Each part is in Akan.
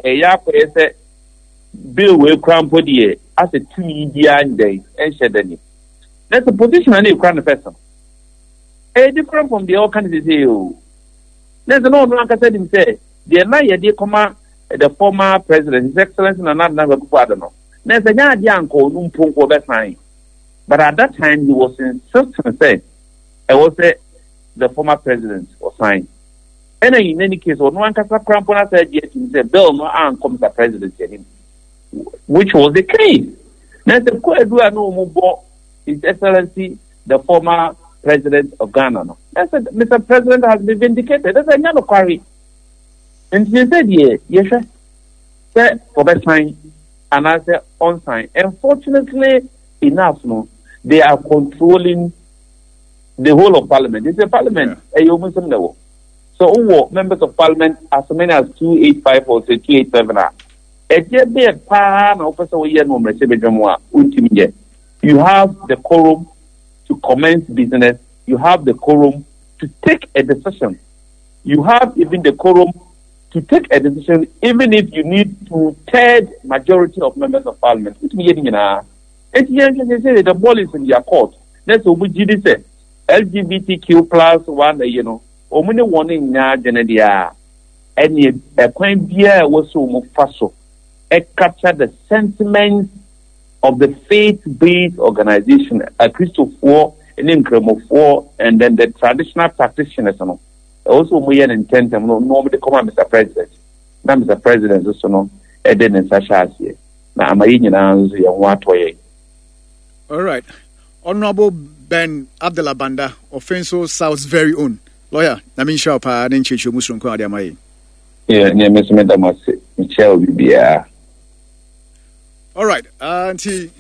ɛyɛ akɔyɛ sɛ bill wei kora mpo deɛ asɛ tumi biara ndɛn ɛnhyɛ da ni. Na sɛ position a na ekura no first no, ɛyɛ different from deɛ ɔka no sese o. Na sɛ na ɔno ankasa nim sɛ deɛ na yɛde kɔma the former president, His Excellency Nana Addo Dankwa Akufo-Addo no, na sɛ nyɛ adeɛ anka ɔno mpo nka ɔbɛsan. But at that time he was insisting sɛ ɛwɔ sɛ the former president ɔsan. Ɛna in any case ɔno ankasa koraa mpo n'asa agye atum sɛ bill no ankɔ Mr President anim, which was the case. Na sɛ kwaadu a na wɔn bɔ His Excellency the former president of Ghana no, na sɛ Mr President has been vindicated, ɛsɛ nyɛ nokware. Nti sɛ deɛ yɛhwɛ sɛ ɔbɛsan anaasɛ ɔnsan. Unfortunately enough no, they are controlling the whole of parliament. They say parliament, ɛyɛ wɔn nsam na ɛwɔ. So wowɔ members of parliament as many as 285 or say 287 a, ɛdeɛ bɛyɛ paa na wopɛ sɛ woyɛ no wɔ mmarahyɛbadwa mu a wontumi nyɛ. You have the quorum to commence business, you have the quorum to take a decision, you have even the quorum to take a decision even if you need two-third majority of members of parliament. Wotumi yɛ ne nyinaa. Eti yɛn hwɛ sɛ the ball is in their court. Na sɛ wɔn gyi di sɛ LGBTQ plus one ayi no, wɔn ne wɔn nyɛ adwene deɛ a, ɛne ɛkwan biara a ɛwɔ sɛ wɔn fa so capture the sentiments of the faith-based organization, Akristofoɔ ne Nkramofoɔ and then the traditional practitioners no, ɛwɔ sɛ wɔn yɛ no ntɛntɛm no na wɔn de kɔma Mr President, na Mr President nso no ɛde ne nsa hyɛ aseɛ na ama yɛn nyinaa nso yɛn ho atɔ yɛn. All right. Honorable Ben Abdullah Banda, Offinso South's very own lawyer. Na me nhyira paa ne nkyerɛkyerɛ mu soronko a ɔde ama yɛn. Yeah, ne me nso meda mo ase. Mekyia obi biara. All right. Nti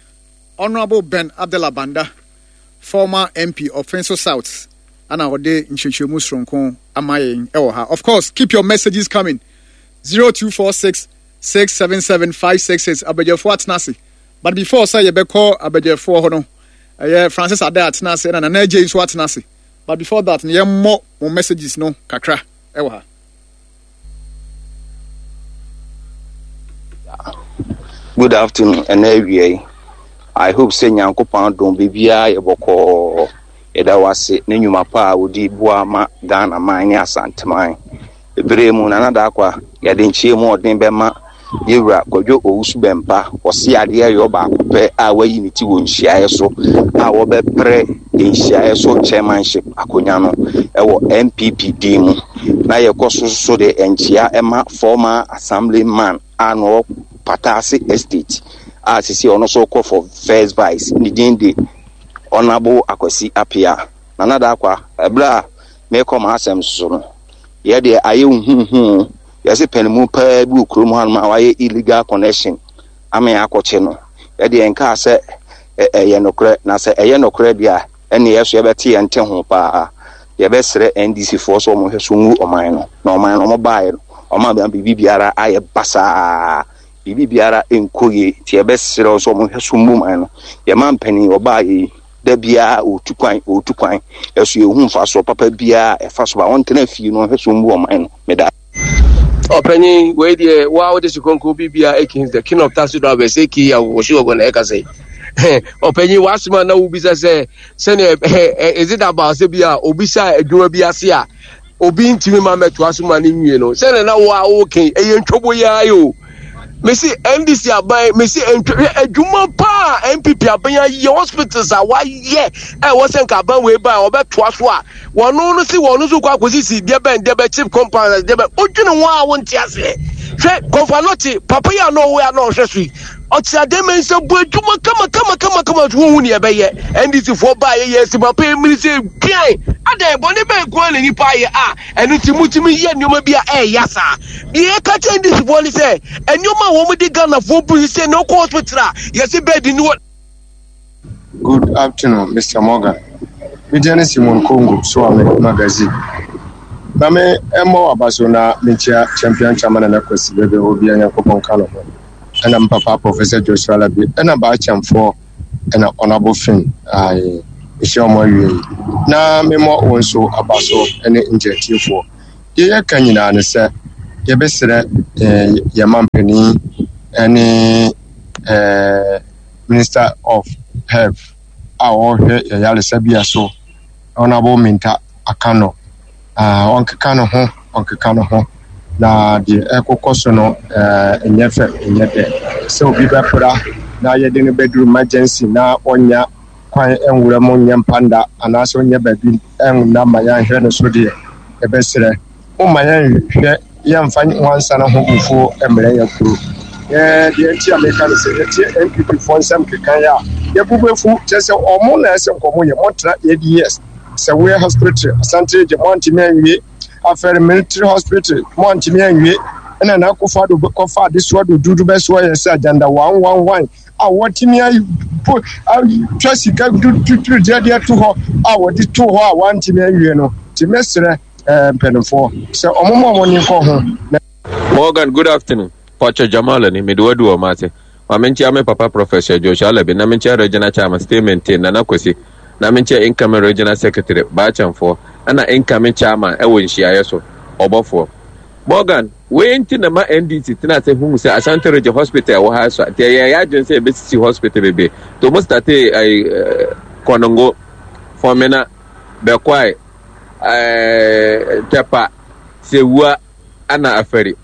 Honorable Ben Abdullah Banda, former MP Offinso South, ana ɔde nkyerɛkyerɛmu soronko ama yɛn ɛwɔ ha. Of course, keep your messages coming. 0246 677 566 abadwafoɔ atena ase. But before sɛ yɛbɛkɔ abadwafoɔ hɔ no, ɛyɛ Francis Adai atena ase ɛna Nana Adjei nso atena ase. But before that no, yɛmmɔ mo messages no kakra ɛwɔ ha. Good afternoon ɛnɛ awia yi I hope sɛ Nyankopɔn adom biribiara yɛ bɔkɔɔ yɛda wo ase ne nnwuma pa a wodi boa ma Ghana man ne Asanteman Bere mu Nana Daakwa yɛde nkyia mu ɔden bɛma Yɛwura Kwadwo Owusu Bɛmpa ɔse adeɛ yɔ baako pɛ a wayi ne ti wɔ nhyiaeɛ so a wɔbɛpere nhyiaeɛ so chairmanship akonya no ɛwɔ NPP din mu na yɛkɔ so so de nkyia ɛma former assemblyman a na ɔwɔ Pataase Estate a sisi ɔno nso kɔ for first vice ne din de Honourable Akwasi Appiah. Nana Daakwa, ɛberɛ a merekɔ m'asɛm so no, yɛ deɛ ayɛ huhuhu yɛse panimu paa bi wɔ kurom hanom a wayɛ illegal connection ama yɛn akɔkye no. Yɛ deɛ nkaa sɛ ɛyɛ nokorɛ, na sɛ ɛyɛ nokorɛ deɛ a, ɛne yɛ so yɛbɛte yɛn te ho paa. Yɛbɛsrɛ NDC foɔ sɛ wɔn hwɛ so ngu ɔman no, na ɔman no wɔn baeɛ no, wɔn ama biribi biara ayɛ basaa, biribi biara nkɔ yie, nti yɛbɛsrɛ wɔn sɛ wɔn hwɛ so ngu ɔman no. Yɛn mampanin ɔbaeɛ yi, da biara ɔretu kwan, ɔretu kwan, ɛso yɛhu mfasoɔ papa biara ɛfa so ba, ɔntena fie no ɔhwɛ so mbu ɔman no. Meda. Ɔpanyin, wei deɛ wo a wode se kronkron bibia akins the king of taxi drivers aka awɔhye wɔgɔ na ɛka sɛ ɔpanyin w'asɛm a na wobisa sɛ sɛnea is it about sɛ bi a obi hyɛ adwuma bi ase a obi ntumi ma mɛtoa so ma no nwie no sɛnea na wo a woke ɛyɛ ntwobo yi ara o mesi ndc aban mesi ntwo hwɛ adwuma paa npp aban ayɛ hospitals a wayɛ ɛwɔ sɛ nka aban wei ba a ɔbɛtoa so a Wɔn no si wɔn nso kɔ akɔsisi deɛ bɛn deɛ bɛ chip compound deɛ bɛn wodwene ho a wonte aseɛ hwɛ kɔnfa nɔkye papa yi a na ɔwɔ a na ɔhwɛ so yi ɔte adeɛ mɛ nsa bu adwuma kama kama kama kama so wohu neɛ ɛbɛyɛ ndc foɔ baa yɛ yɛ si papa yi mmiri sɛ duan adɛn bɔne bɛn ko na nipa ayɛ a ɛno nti mutumi yɛ nneɛma bi a ɛɛya saa deɛ yɛka kyɛ ndc foɔ ne sɛ nneɛma a wɔn de ghana foɔ bu sɛ na ɔkɔ hospital a yɛsi bɛɛdi ni wɔ Good afternoon Mister Morgan. Me din ne Simon Kongo Suame Magazine. Na me mmɔ w'aba so na menkyia Champion Chairman Nana Kwasi baabi a ɔwɔ biara Nyankopɔn nka no ho. Ɛna me papa Professor Joshua Alabi ɛna Baakyɛmfoɔ ɛna Honourable Finn ae mehyia wɔn awie yi. Na me mmɔ wo nso aba so ɛne ngyatiefoɔ. Deɛ yɛka nyinaa ne sɛ Yɛbɛsrɛ yɛn mampanin ne ɛɛ Minister of Health a ɔrehwɛ yɛn yaresabea so, Honourable Minta Akano. Ah, ɔnkeka ne ho, ɔnkeka ne ho. Na deɛ ɛrekokɔ so no, ɛɛ ɛnyɛ fɛ, ɛnyɛ dɛ. Sɛ obi bɛpra na yɛde no bɛduru emergency na ɔnya kwan nwura mu nyɛ mpanda anaasɛ ɔnyɛ baabi nna ma yɛanhwɛ no so deɛ, yɛbɛsrɛ. Momma yɛnhwɛ yɛmfa nwansana ho bufuo mmrɛ yɛn kuro. Yɛ deɛ nti a meka no sɛ yɛtie NPP foɔ nsɛm keka yi a yɛbu bɛfu kyerɛ sɛ ɔmo na ɛsɛ nkɔmɔ yɛ mɔtra 8 years sɛ woyɛ hospital Asante region mo antumi anwie afɛre military hospital mo antumi anwie ɛna na akɔfa do kɔfa adesoa dududu bɛsoa yɛ sɛ agenda 111 a wɔatumi apo atwa sika tuturu deɛ de ato hɔ a wɔde to hɔ a wɔantumi anwie no nti mɛsrɛ eh, mpanimfoɔ sɛ wɔn ma wɔn ani nkɔ ho na Morgan, good afternoon. Pacho Jamal ni mede wadu wɔ mate. Ma menkyia me papa Professor Joshua Alabi na menkyia Regional Chairman Stay Maintain Nana Kwesi na menkyia incoming Regional Secretary Baakyɛmfoɔ ɛna incoming Chairman ɛwɔ nhyiaeɛ so ɔbɔfoɔ. Morgan, wei nti na ma NDC tena ase hu sɛ Ashanti Region Hospital ɛwɔ ha so nti ɛyɛ yɛ adwene sɛ yɛbɛsisi hospital bebree. Nti wɔn startee ɛyi Kɔnongo, Fɔmena, Bɛkwae, ɛɛ Tɛpa, Sewua ana Afari.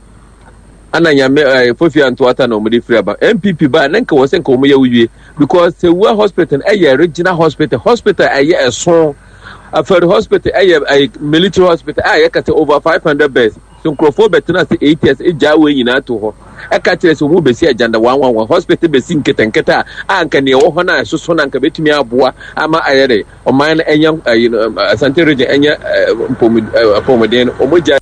Ana nyame ɛɛ Fofia Ntoata na wɔn de firi aba. NPP ba ne nka wɔ sɛ nka wɔn yɛ wie because Sewua Hospital ɛyɛ regional hospital, hospital ɛyɛ ɛso. Afari Hospital ɛyɛ ɛyɛ military hospital a yɛka sɛ over 500 beds. So nkurɔfoɔ bɛtena ase 8 years egyaa wei nyinaa to hɔ. Ɛka kyerɛ sɛ wɔn bɛsi agenda one one one hospital bɛsi nketenkete a a nka nea ɛwɔ hɔ no a ɛsoso no anka bɛtumi aboa ama ayɛ dɛ ɔman no ɛnyɛ ɛyi no Asante region ɛnyɛ apɔmuden no wɔn gya.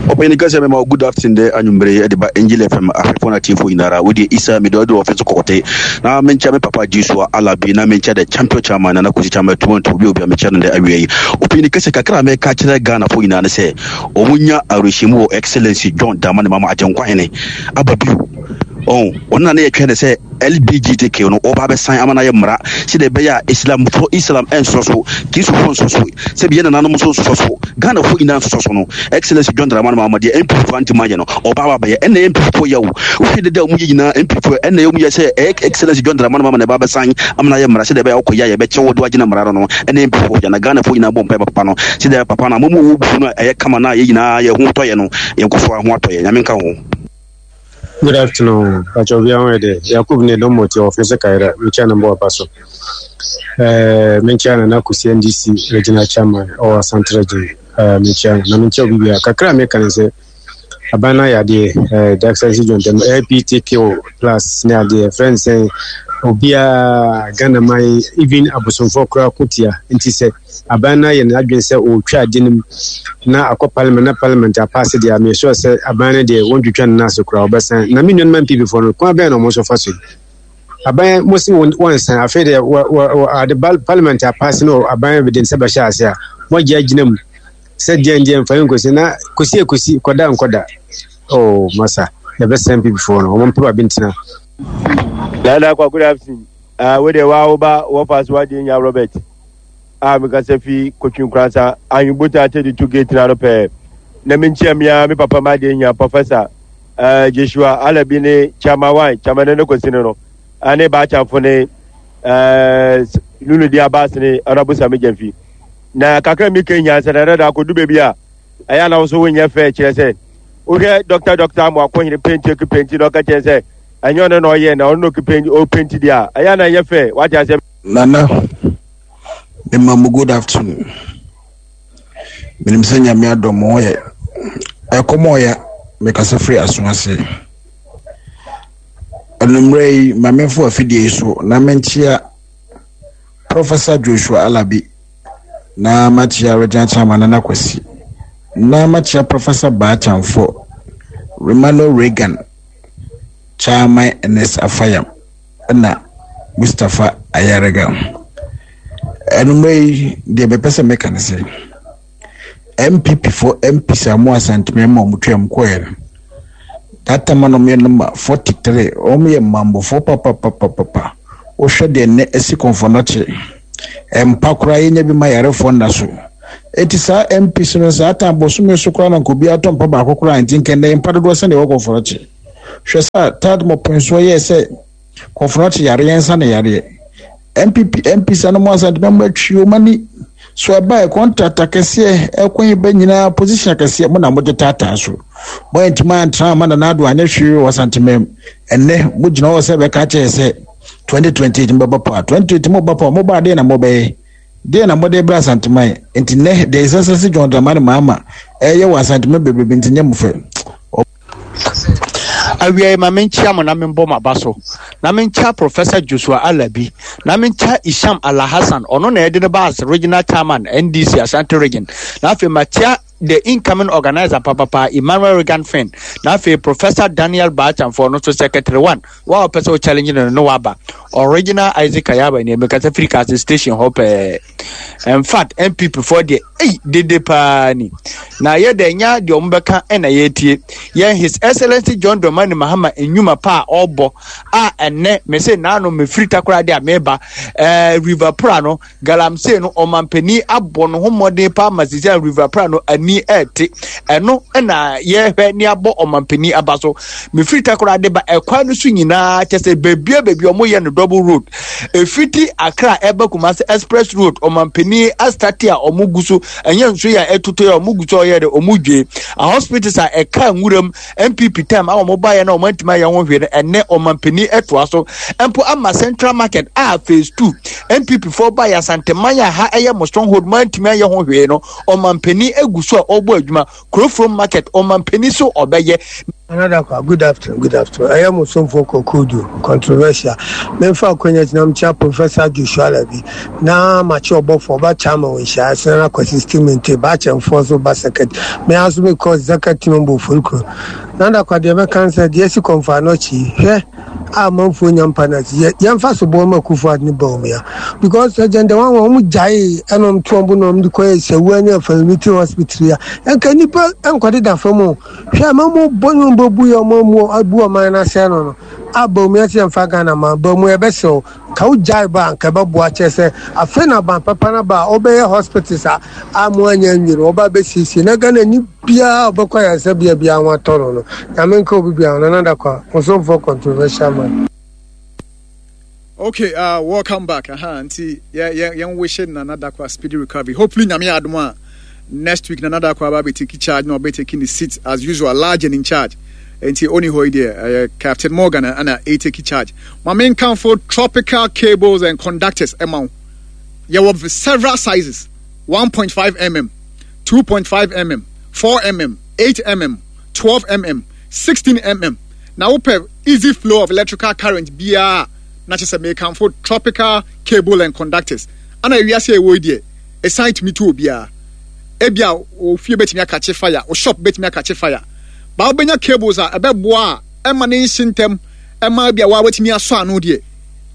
Ɔpanyin kɛseɛ mema wo good afternoon dɛ anwummere yi de ba Angel FM ahwɛfoɔ no atiefoɔ nyinara. Wo deɛ Isa mede ɔde ɔfe so kɔkɔte na menkyɛ me papa Joshua Alabi na menkyɛ the champion chairman Nana Kwesi Chairman Tumantu obi obi a mekyɛ no dɛ awia yi. Ɔpanyin kɛseɛ kakra a mɛka kyerɛ Ghanafoɔ nyinaa ne sɛ wɔn nya awerɛhyɛmu wɔ Excellency John Dramani Mahama Agyenkwa Hene aba bio. Ɔn, ɔno na ne yɛtwɛn ne sɛ LBGTQ no ɔba abɛsan ama no ayɛ mmara sɛdeɛ ɛbɛyɛ a Islamfoɔ Islam ɛnsosɔ so, Kristofoɔ nsosɔ so, sɛbi yɛn nananom nso nsosɔ so, Ghanafoɔ nyinaa nsosɔ so no. Excellency John Dramani Mahama deɛ NPP foɔ antimi anyɛ no, ɔba aba abɛyɛ. Ɛnna NPP foɔ yɛ o. Wohwɛ dede a wɔyɛ nyinaa NPP foɔ ɛnna wɔyɛ sɛ ɛyɛ Excellency John Dramani Mahama na ɛba abɛsan ama no ayɛ mmara sɛdeɛ ɛbɛyɛ a wokɔyɛ a yɛbɛkyɛ wo de woagyina mmara no no. Ɛnna NPP foɔ yɛ na Ghanafoɔ nyinaa bɔ mpaeɛ ma papa no sɛdeɛ papa no a momu wɔ bufu no a ɛyɛ kama no a yɛn nyinaa yɛn ho tɔ yɛn no, yɛnkɔ so ara ho atɔ yɛn. Nyame nka ho. Good afternoon, Pacho obi ho yɛ dɛ. Yakub ne dɔm mɔti wɔ fese kaira, mekyia no mbɔ aba so. Eh, mekyia no na kusi NDC regional chairman ɔwɔ Asante region. Eh, mekyia no na mekyia obi bia. Kakra meka ne sɛ aban no ayɛ adeɛ, eh, Jackson John Dɛm, LPTQ plus ne adeɛ, friend sɛ obiara Ghana man even abosomfoɔ koraa ko tia. Nti sɛ aban no ayɛ n'adwene sɛ ɔretwa ade no mu na akɔ parliament na parliament apaase deɛ a meyɛ sure sɛ aban no deɛ wɔntwitwa no n'ase koraa wɔbɛsan na me nuanom NPP foɔ no kwan bɛn na wɔn nso fa so yi aban mo se wɔnsan afei deɛ wɔ wɔ ade parliament apaase no aban de nsa bɛhyɛ ase a moagye agyina mu sɛ deɛ deɛ mfa nkosi na kosi ekosi kɔda nkɔda oh masa yɛbɛsɛn NPP foɔ no wɔn mpɛ baabi ntena. Nana Kwaku Dapsin, ah, wo deɛ waa wo ba wɔfa so wadeɛ nya Robert. a mekasa fi Kotwi Nkoransa Ahenbotan Atɛdi to gate no ano pɛɛ na menkyia me ara me papa m'adeɛ hia Professor uh, Joshua Alabi ne Chairman Wan Chairman Nene Kwesi no no ne Baakyamfo ne uh, Lulu Di Abbas ne Honorable Sami Gyamfi na kakra mi ka hia sɛ dada da akɔdu baabi a ɛyɛ na wo so wonyɛ fɛ kyerɛ sɛ wohwɛ dɔkta dɔkta amoakohene penti oki penti na ɔka kyerɛ sɛ ɛnyɛ ɔno na ɔyɛ na ɔno na oki penti ɔpenti deɛ a ɛyɛ na ɛnyɛ fɛ wate asɛ Nana, mema mo good afternoon. Menim sɛ Nyame adom mo ho yɛ. Ɛkɔm ɔya, mekasa firi aso ase. Anummerɛ yi, ma memfo afidie yi so na menkyea Professor Joshua Alabi na makyea Regina Chairman Nana Kwasi na makyea Professor Baa Kyamfo, Romano Reagan, Chairman Ernest Afayam. na Mustapha Ayariga. Anummerɛ yi deɛ mepɛ sɛ meka ne sɛ NPP foɔ MPs a mo Asanteme ma wɔn twam kɔɛ no that time na wɔyɛ number 43 wɔn yɛ mmambɔfoɔ papapapapa wohwɛ deɛ nnɛ asi kɔnfɔnɔkye mpa koraa yɛnya bi ma yarefoɔ nna so. Enti saa MPs no saa tan bosome so koraa na nka obiara tɔ mpa baako koraa nti nka nnɛ mpa dodoɔ sɛdeɛ ɛwɔ Kɔmforɔkye. Hwɛ sɛ a Tad Mɔpensoɔ yɛɛ sɛ Kɔmforɔkye yareɛ nsa ne yareɛ. NPP MPs ano mu Asantema mu atwi wɔn ani so ɛbaeɛ contract akɛseɛ ɛkwan yi ba nyinaa position akɛseɛ mo na mogye taataa so. Mo antumi antra ama Nana Addo anyɛ hwee wɔ Asantema mu. Ɛnnɛ mogyina hɔ sɛ bɛka kyerɛ sɛ 2028 mobɛba power. 2028 moba power mobaa deɛ na mobɛyɛ. Deɛn na mode rebrɛ Asanteman? Enti nnɛ, deɛ His Excellency John Dramani Mahama ɛreyɛ wɔ Asanteman bebrebe nti nyɛ mo fɛ. Awiei ma menkyia mo na membɔ mo aba so, na menkyia Professor Joshua Alabi, na menkyia Isham Alhassan, ɔno na yɛde no ba as Regional Chairman NDC Ashanti Region, na afei makyia the incoming organizer papapa Emmanuel Regan Finn, na afei Professor Daniel Baachamfo, ɔno nso Secretary One, wa ɔpɛ sɛ o challenge no no waba. Original Isaac Ayaba ni mekasa firi Kase station hɔ pɛɛ. In fact, NPP foɔ deɛ, ei, dede paa ni. Na yɛ dɛ nya deɛ ɔmo bɛka ɛna yɛtie. Yɛn His Excellency John Dramani Mahama nnwuma pa a ɔbɔ a ɛnɛ mese naano mefiri Takoradi a meba ɛɛ River Pra no Galamsey no ɔmanpanin abɔ ne ho mmɔden paa ma sisi a River Pra no ani ɛte. Ɛno na yɛhwɛ ne abɔ ɔmanpanin aba so. Mefiri Takoradi ba ɛkwan no so nyinaa kyɛ sɛ beebia beebi ɔmo yɛ no double road. Efiti Accra ɛba Kumasi express road ɔmanpanin astate a ɔmo gu so ɛnyɛ nso yɛ a ɛtotɔ yɛ ɔmo gu so ɔyɛ de ɔmo dwe. A hospitals a ɛka nwuram NPP time a wɔn baeɛ na wɔn antumi ayɛ ho hwee no ɛnɛ ɔmanpanin ɛtoa so mpo ama Central Market a phase 2 NPP foɔ baeɛ Asanteman a ha ɛyɛ mo stronghold mo antumi ayɛ ho hwee no ɔmanpanin egu so a ɔrebɔ adwuma Kurofrom Market ɔmanpanin so ɔbɛyɛ. Another kwa, good afternoon, good afternoon. Ɛyɛ mo somfo Kokudu, controversial. Memfa akwanya gyina mkyia Professor Joshua Alabi na makye ɔbɔfo ɔba Chama wɔ nhyiae ase na Kwasi Stimente, Baakyɛmfoɔ so ba secretary. Me ara nso mekɔ executive member Oforikuro. Nada kwa deɛ mɛka ne sɛ deɛ asi kɔmfo anɔkye yi, hwɛ a amanfoɔ nya mpa no ase. Yɛ yɛmfa soboɔ ma Akufo Addo ne Bawumia because agenda wɔn wɔn wɔn gyaee ɛna wɔn to wɔn bo na wɔn de kɔyɛ Sawua ne Afari Military Hospital yi a ɛnka nnipa nkɔdeda fam o. Hwɛ ama mo bɔ ne wɔn bɛbu yɛ wɔn amu abu ɔman no asɛe no no a Bawumia sɛ yɛmfa Ghana ma Bawumia yɛbɛsrɛ wo Ka wo gyae ba a nka ɛbɛboa kyerɛ sɛ afei na aban papa no aba a ɔbɛyɛ hospitals a a mo anya nwie no ɔba bɛsiesie na Ghana ni biara a ɔbɛkɔ ayaresabea biara ho atɔ no no Nyame nka obi biara ho Nana Dakwah Ɔsomfoɔ controversial man. Okay, uh, welcome back. Aha, nti yeah, yeah, yeah, wish Nana Dakwa speedy recovery. Hopefully, Nyame adom a next week Nana Dakwa ba be take charge, no be taking the seat as usual, large and in charge. Nti oni hɔ yi deɛ uh, Captain Morgan ana uh, take charge. Ma menkamfo tropical cables and conductors ɛma wo. Yɛwɔ several sizes, 1.5 mm, 2.5 mm, 4 mm, 8 mm, 12 mm, 16 mm. Na wopɛ easy flow of electrical current biara na kyerɛ sɛ mekamfo tropical cable and conductors. Ana ewiase a ɛwɔ yi deɛ, ɛsan tumi to obiara. Ebia wo fie bɛtumi akakye fire, wo shop bɛtumi akakye fire. Ba wobɛnya cables a ɛbɛboa a ɛma ne nhye ntɛm ɛma ebia waa watumi asɔ ano deɛ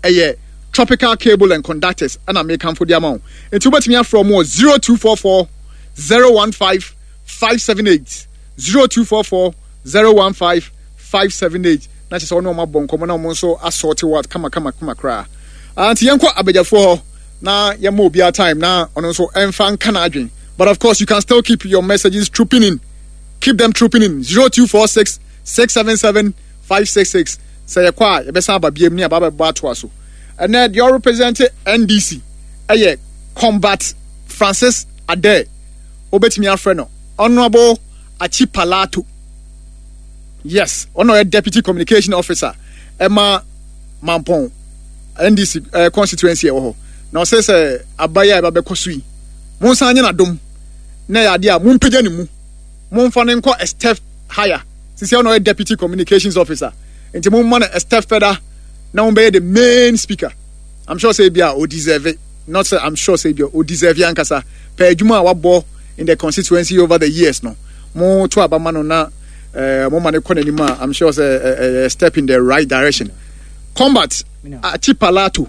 ɛyɛ tropical cable and conductors ɛna mekamfo de ama wo nti wobɛtumi afrɛ ɔmo wɔ 0244 015 578 0244 015 578 na kyerɛ sɛ ɔne ɔmo abɔ nkɔmmɔ na ɔmo nso asɔɔte wɔ kama kama kama koraa ah, nti yɛnkɔ abadwafoɔ hɔ na yɛma obiara time na ɔno nso ɛmfa nka n'adwen but of course you can still keep your messages trooping in keep them trooping in 0246 677 566 Sɛ yɛkɔ a yɛbɛsan aba biam ne aba abɛbɔ atoa so. Ɛnɛ deɛ ɔrepresente NDC ɛyɛ Combat Francis Adair. Wobɛtumi afrɛ no Honourable Achi Palato. Yes, ɔno ɔyɛ Deputy Communication Officer ɛma Mampɔn NDC eh, constituency ɛwɔ hɔ. Na ɔsɛ sɛ aba yi a ɛba bɛkɔ so yi, monsan nye n'adom na ɛyɛ adeɛ a mompagya ne mu, momfa no nkɔ a step higher. Sisi ɔna ɔyɛ deputy communications officer nti mo ma no a step further na wɔn bɛyɛ the main speaker. I'm sure say bia o deserve it. Not say I'm sure say bia o deserve it ankasa. Pɛ adwuma a wabɔ in the constituency over the years no. Mo to aba ma no na eh, mo ma no kɔ n'anim a I'm sure say eh, eh, step in the right direction. Combat Achipalato.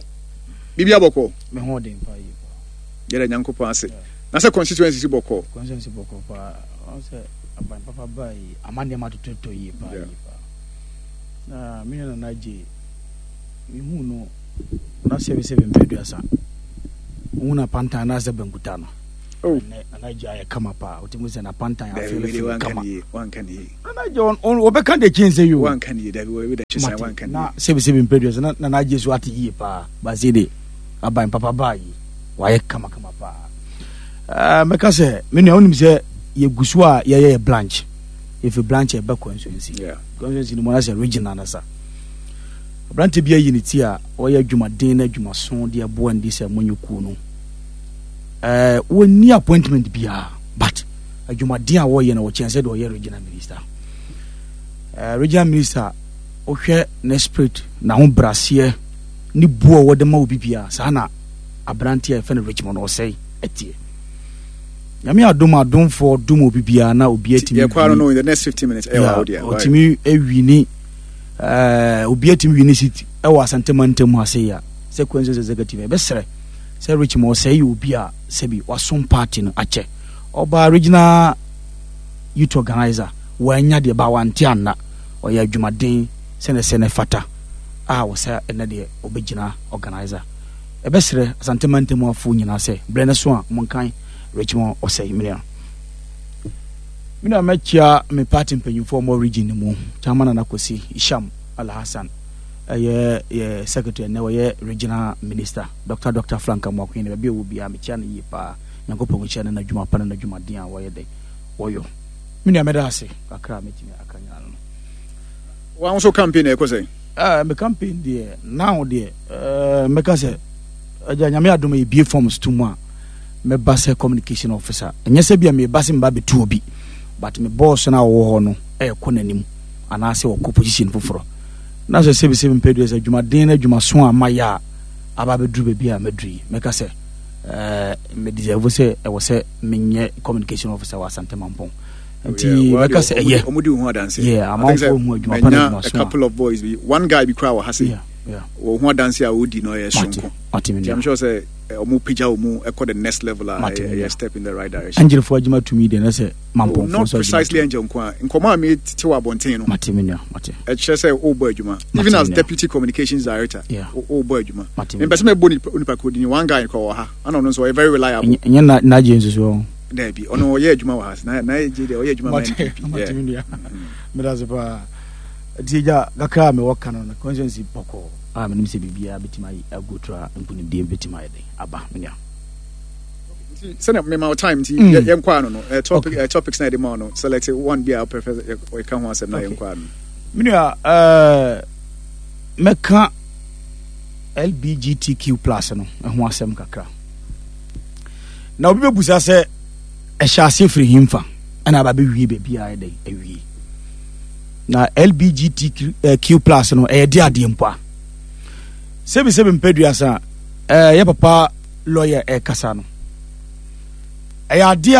Bibi abɔkɔ. Me ho den pa yi pa. Yɛda Nyankopɔn ase. Na sɛ constituency si bɔkɔ. Constituency bɔkɔ pa. Ɔn sɛ aban papa baa yi ama nneɛma totɔtɔ yie paa yie paa. Na me nua Nana Adjei, mehuu no na sɛbesɛbe mpɛ aduasa. Wohu no apantan anaasɛ bankuta no. Oh. Ɛnɛ Nana Agye ayɛ kama paa. Wotumi sɛ n'apantan afeelefeele kama. Wanka ne yie. Nana Agye wɔbɛka de kyen sɛ yi o. Wanka ne yie dabi wɔbɛ da kye wanka ne yie. Na sɛbi sɛbi mpɛdua sɛ na Nana Agye so ate yie paa. Baase de aban papa baa yi wayɛ kama kama paa. Ɛɛ mɛka sɛ me nua wonim sɛ yɛgu so a yɛyɛ yɛ branch. Yɛfi branch ɛbɛ constituency. Constituency no mu na sɛ regional na sa. Aberante bi ayi ne ti a ɔyɛ adwumaden na adwumaso de aboa ndi sɛ monyɛ kuo no. Eh, wɔnni appointment biara but adwumaden a wɔyɛ no wɔkyɛn sɛ deɛ ɔyɛ regional minister. Eh, regional minister wohwɛ ne spirit n'ahobraseɛ ne bu a wɔde ma obi biara saa na aberante a yɛfɛ no Richmond Ɔsɛe ɛteɛ. Nyame adom adomfoɔ dom obi biara na obi atumi yɛkɔ ano no in the next 15 minutes ɛwɔ awo deɛ ɔtumi awini eh, obi atumi wini seat ɛwɔ Asante mantam ha sei a sɛ consensus executive ɛbɛsrɛ sɛ Richmond Ɔsɛe yɛ obi a sɛbi wasom party no akyɛ. Ɔbaa regional youth organizer, wannya deɛ ba wante anna. Ɔyɛ adwumaden sɛnea ɛsɛ na ɛfata a wɔsɛ ɛnɛ deɛ ɔbɛgyina organizer. Ɛbɛsrɛ Asante mantam afoɔ nyinaa sɛ berɛ no so a monkan Richmond Ɔsɛe menua. Menua mɛkyia me party mpanyinfoɔ ɔmɔ region no mu, Chairman Nana Kwesi Isham Alhassan ɛyɛ yɛ secretary ɛnɛ ɔyɛ regional minister. Dɔkta Dɔkta Frank Amoakohene baabi a ɔwɔ biara mekyia no yie paa. Nyankopɔn nhyira no n'adwuma pa ne n'adwumaden a wɔyɛ dɛn wɔyɔ. Me nua mɛda ase kakra a mɛtumi aka nyinaa no no. Wa nso campaign ɛkɔ sɛn? Eh, me campaign deɛ now deɛ eh, mɛka sɛ agya nyame adom yɛbie forms to mu a mɛba sɛ communication officer. Ɛnyɛ sɛ bia meba sɛ meba bɛtu obi but me boss no a ɔwɔ hɔ no ɛɛkɔ n'anim anaasɛ ɔkɔ position foforɔ. Na sɛ sɛbisɛbi mpɛ deɛ sɛ adwumaden no adwumaso a mayɛ a aba abɛduru baabi a maduru yi, mɛka sɛ eh, me deserve sɛ ɛwɔ sɛ menyɛ communication officer wɔ Asante Mampɔn. Nti mɛka sɛ ɛyɛ. Ɔmo di ho adanse. Yeah, amanfoɔ hu adwuma pa na adwuma so a couple of boys bi, one guy bi kura wɔ ha se. Wɔ ho adanse a ɔdi no ɛyɛ soronko. Nti I'm sure sɛ ɔmo pagya ɔmo ɛkɔ the next level a ɛyɛ step in the right direction. Angelfoɔ adwuma tumi deɛ na sɛ mampɔnfoɔ oh, not precisely angel nko a nkɔmɔ a mete wɔ abɔnten no mate me nua mate ɛkyerɛ sɛ wobɔ adwuma even as deputy communications director wobɔ adwuma mempɛ sɛ mɛbɔ nipa kuro dini one guy kɔ wɔ ha ana ɔno nso ɔyɛ very reliable ɛnyɛ na nagye nso so daabi ɔno ɔyɛ adwuma wɔ ha na na gye deɛ ɔyɛ adwuma ma NPP mate me nua medase paa nti agya kakra a mewɔ ka no no constituency bɔkɔɔ a menim sɛ biribiara bɛtumi ayɛ ago tra nkonimdie bɛtumi ayɛ den aba me nua Nti sɛnea mema wo time nti mm. yɛnkɔ ano no eh, topic okay. eh, topics na yɛde ma wo no select one bi a wopɛ yɛka ho asɛm na yɛnkɔ ano. Me nua eh, mɛka LBGTQ plus no ho asɛm kakra na obi bɛbusa sɛ ɛhyɛ aseɛ firi hemfa ɛna aba bɛwie baabi a ɛdɛn awie na LBGTQ eh, plus no ɛyɛ de adeɛ mpo a sɛbisɛbi mpɛduasa ɛyɛ eh, papa lɔya ɛrekasa no, ɛyɛ adeɛ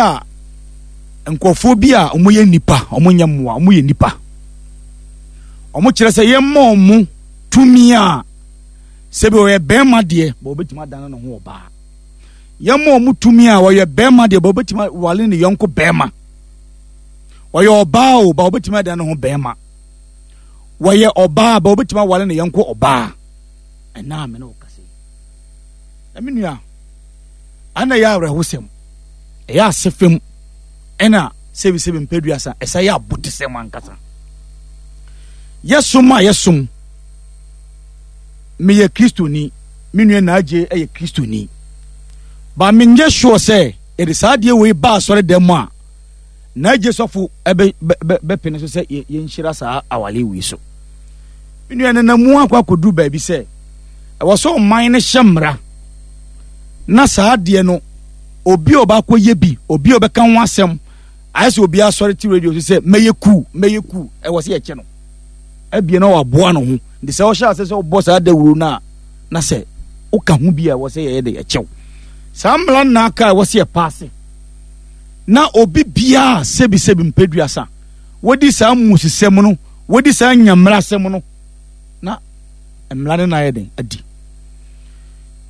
a nkurɔfoɔ bi a wɔyɛ nnipa, wɔnyɛ mmoa, wɔyɛ nnipa. Wɔkyerɛ sɛ yɛmma wɔn tumi a sɛbi ɔyɛ bɛrima deɛ, bɛ wɔbɛtumi adane ne ho ɔbaa. Yɛmma wɔn tumi a ɔyɛ bɛrima deɛ, bɛ wɔbɛtumi awale ne yɔnko bɛrima. Ɔyɛ ɔbaa o, bɛ wɔbɛtumi adane ne ho bɛrima. Wɔyɛ ɔbaa, bɛ wɔbɛtumi awale ne yɔnko ɔbaa. Ɛnaa me ne wo kasa yi. Na me nua, ana ɛyɛ awerɛhosɛm, ɛyɛ asefem, ɛna sɛbisɛbi mpɛduasa, ɛsɛ yɛ abotesɛm ankasa. Yɛsom a yɛsom, meyɛ Kristoni, me nua Naagye yɛ Kristoni. Ba menyɛ sure sɛ yɛde saa adeɛ wei ba asɔre dɛm mu a, Naagye sɔfo ɛbɛ bɛpene so sɛ yɛnhyira saa awale wei so. Me nua nanamu akɔ akɔduru baabi sɛ, ɛwɔ sɛ ɔman no hyɛ mmara na saa adeɛ no obi a ɔbaakɔ yɛ bi obi a ɔbɛka ho asɛm ayɛ sɛ obi asɔre te radio so sɛ mɛyɛ kuu mɛyɛ kuu ɛwɔ sɛ yɛkyɛ no abie na waboa no ho nti sɛ ɔhyɛ ase sɛ ɔbɔ saa dawuro no a na sɛ woka ho bi a ɛwɔ sɛ yɛyɛ de ɛkyɛw saa mmara nna aka a ɛwɔ sɛ yɛpaase na obi biara sɛbisɛbi mpɛduasa wɔdi saa mmusisɛm no wɔdi saa nyammerasɛm no na mmara no na ayɛ den adi.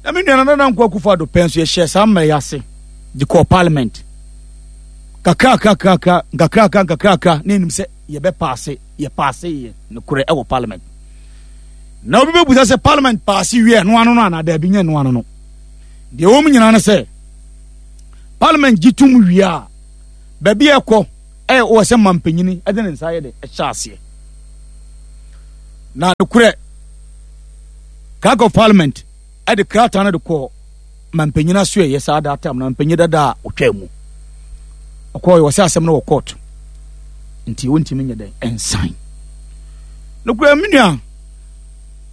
Na me nua Nana Dankwa Akufo-Addo pɛ nso yɛhyɛɛ saa mmara yi ase de kɔɔ parliament. Kakrakrakrakra, nkakrakra nkakrakra na yɛnim sɛ yɛbɛpaase, yɛpaase yɛ nokorɛ ɛwɔ parliament. Na obi bɛbusa sɛ parliament paase wie ɛno ano no anaa daabi nyɛ ɛno ano no. Deɛ ɛwɔ mu nyinaa ne sɛ. Parliament gye tom wie a, baabi a ɛkɔ ɛyɛ wɔ sɛ mampanyini ɛde ne nsa yɛ de ɛhyɛ aseɛ. Na nokorɛ, Clerk of Parliament ɛde krataa no de kɔɔ mampanyin aso ɛyɛ saa that time na mampanyin dada a ɔtwa mu. Ɔkɔɔ wɔ sɛ asɛm no wɔ court nti wɔntumi nyɛ dɛn ɛnsan. Nokorɛ me nua,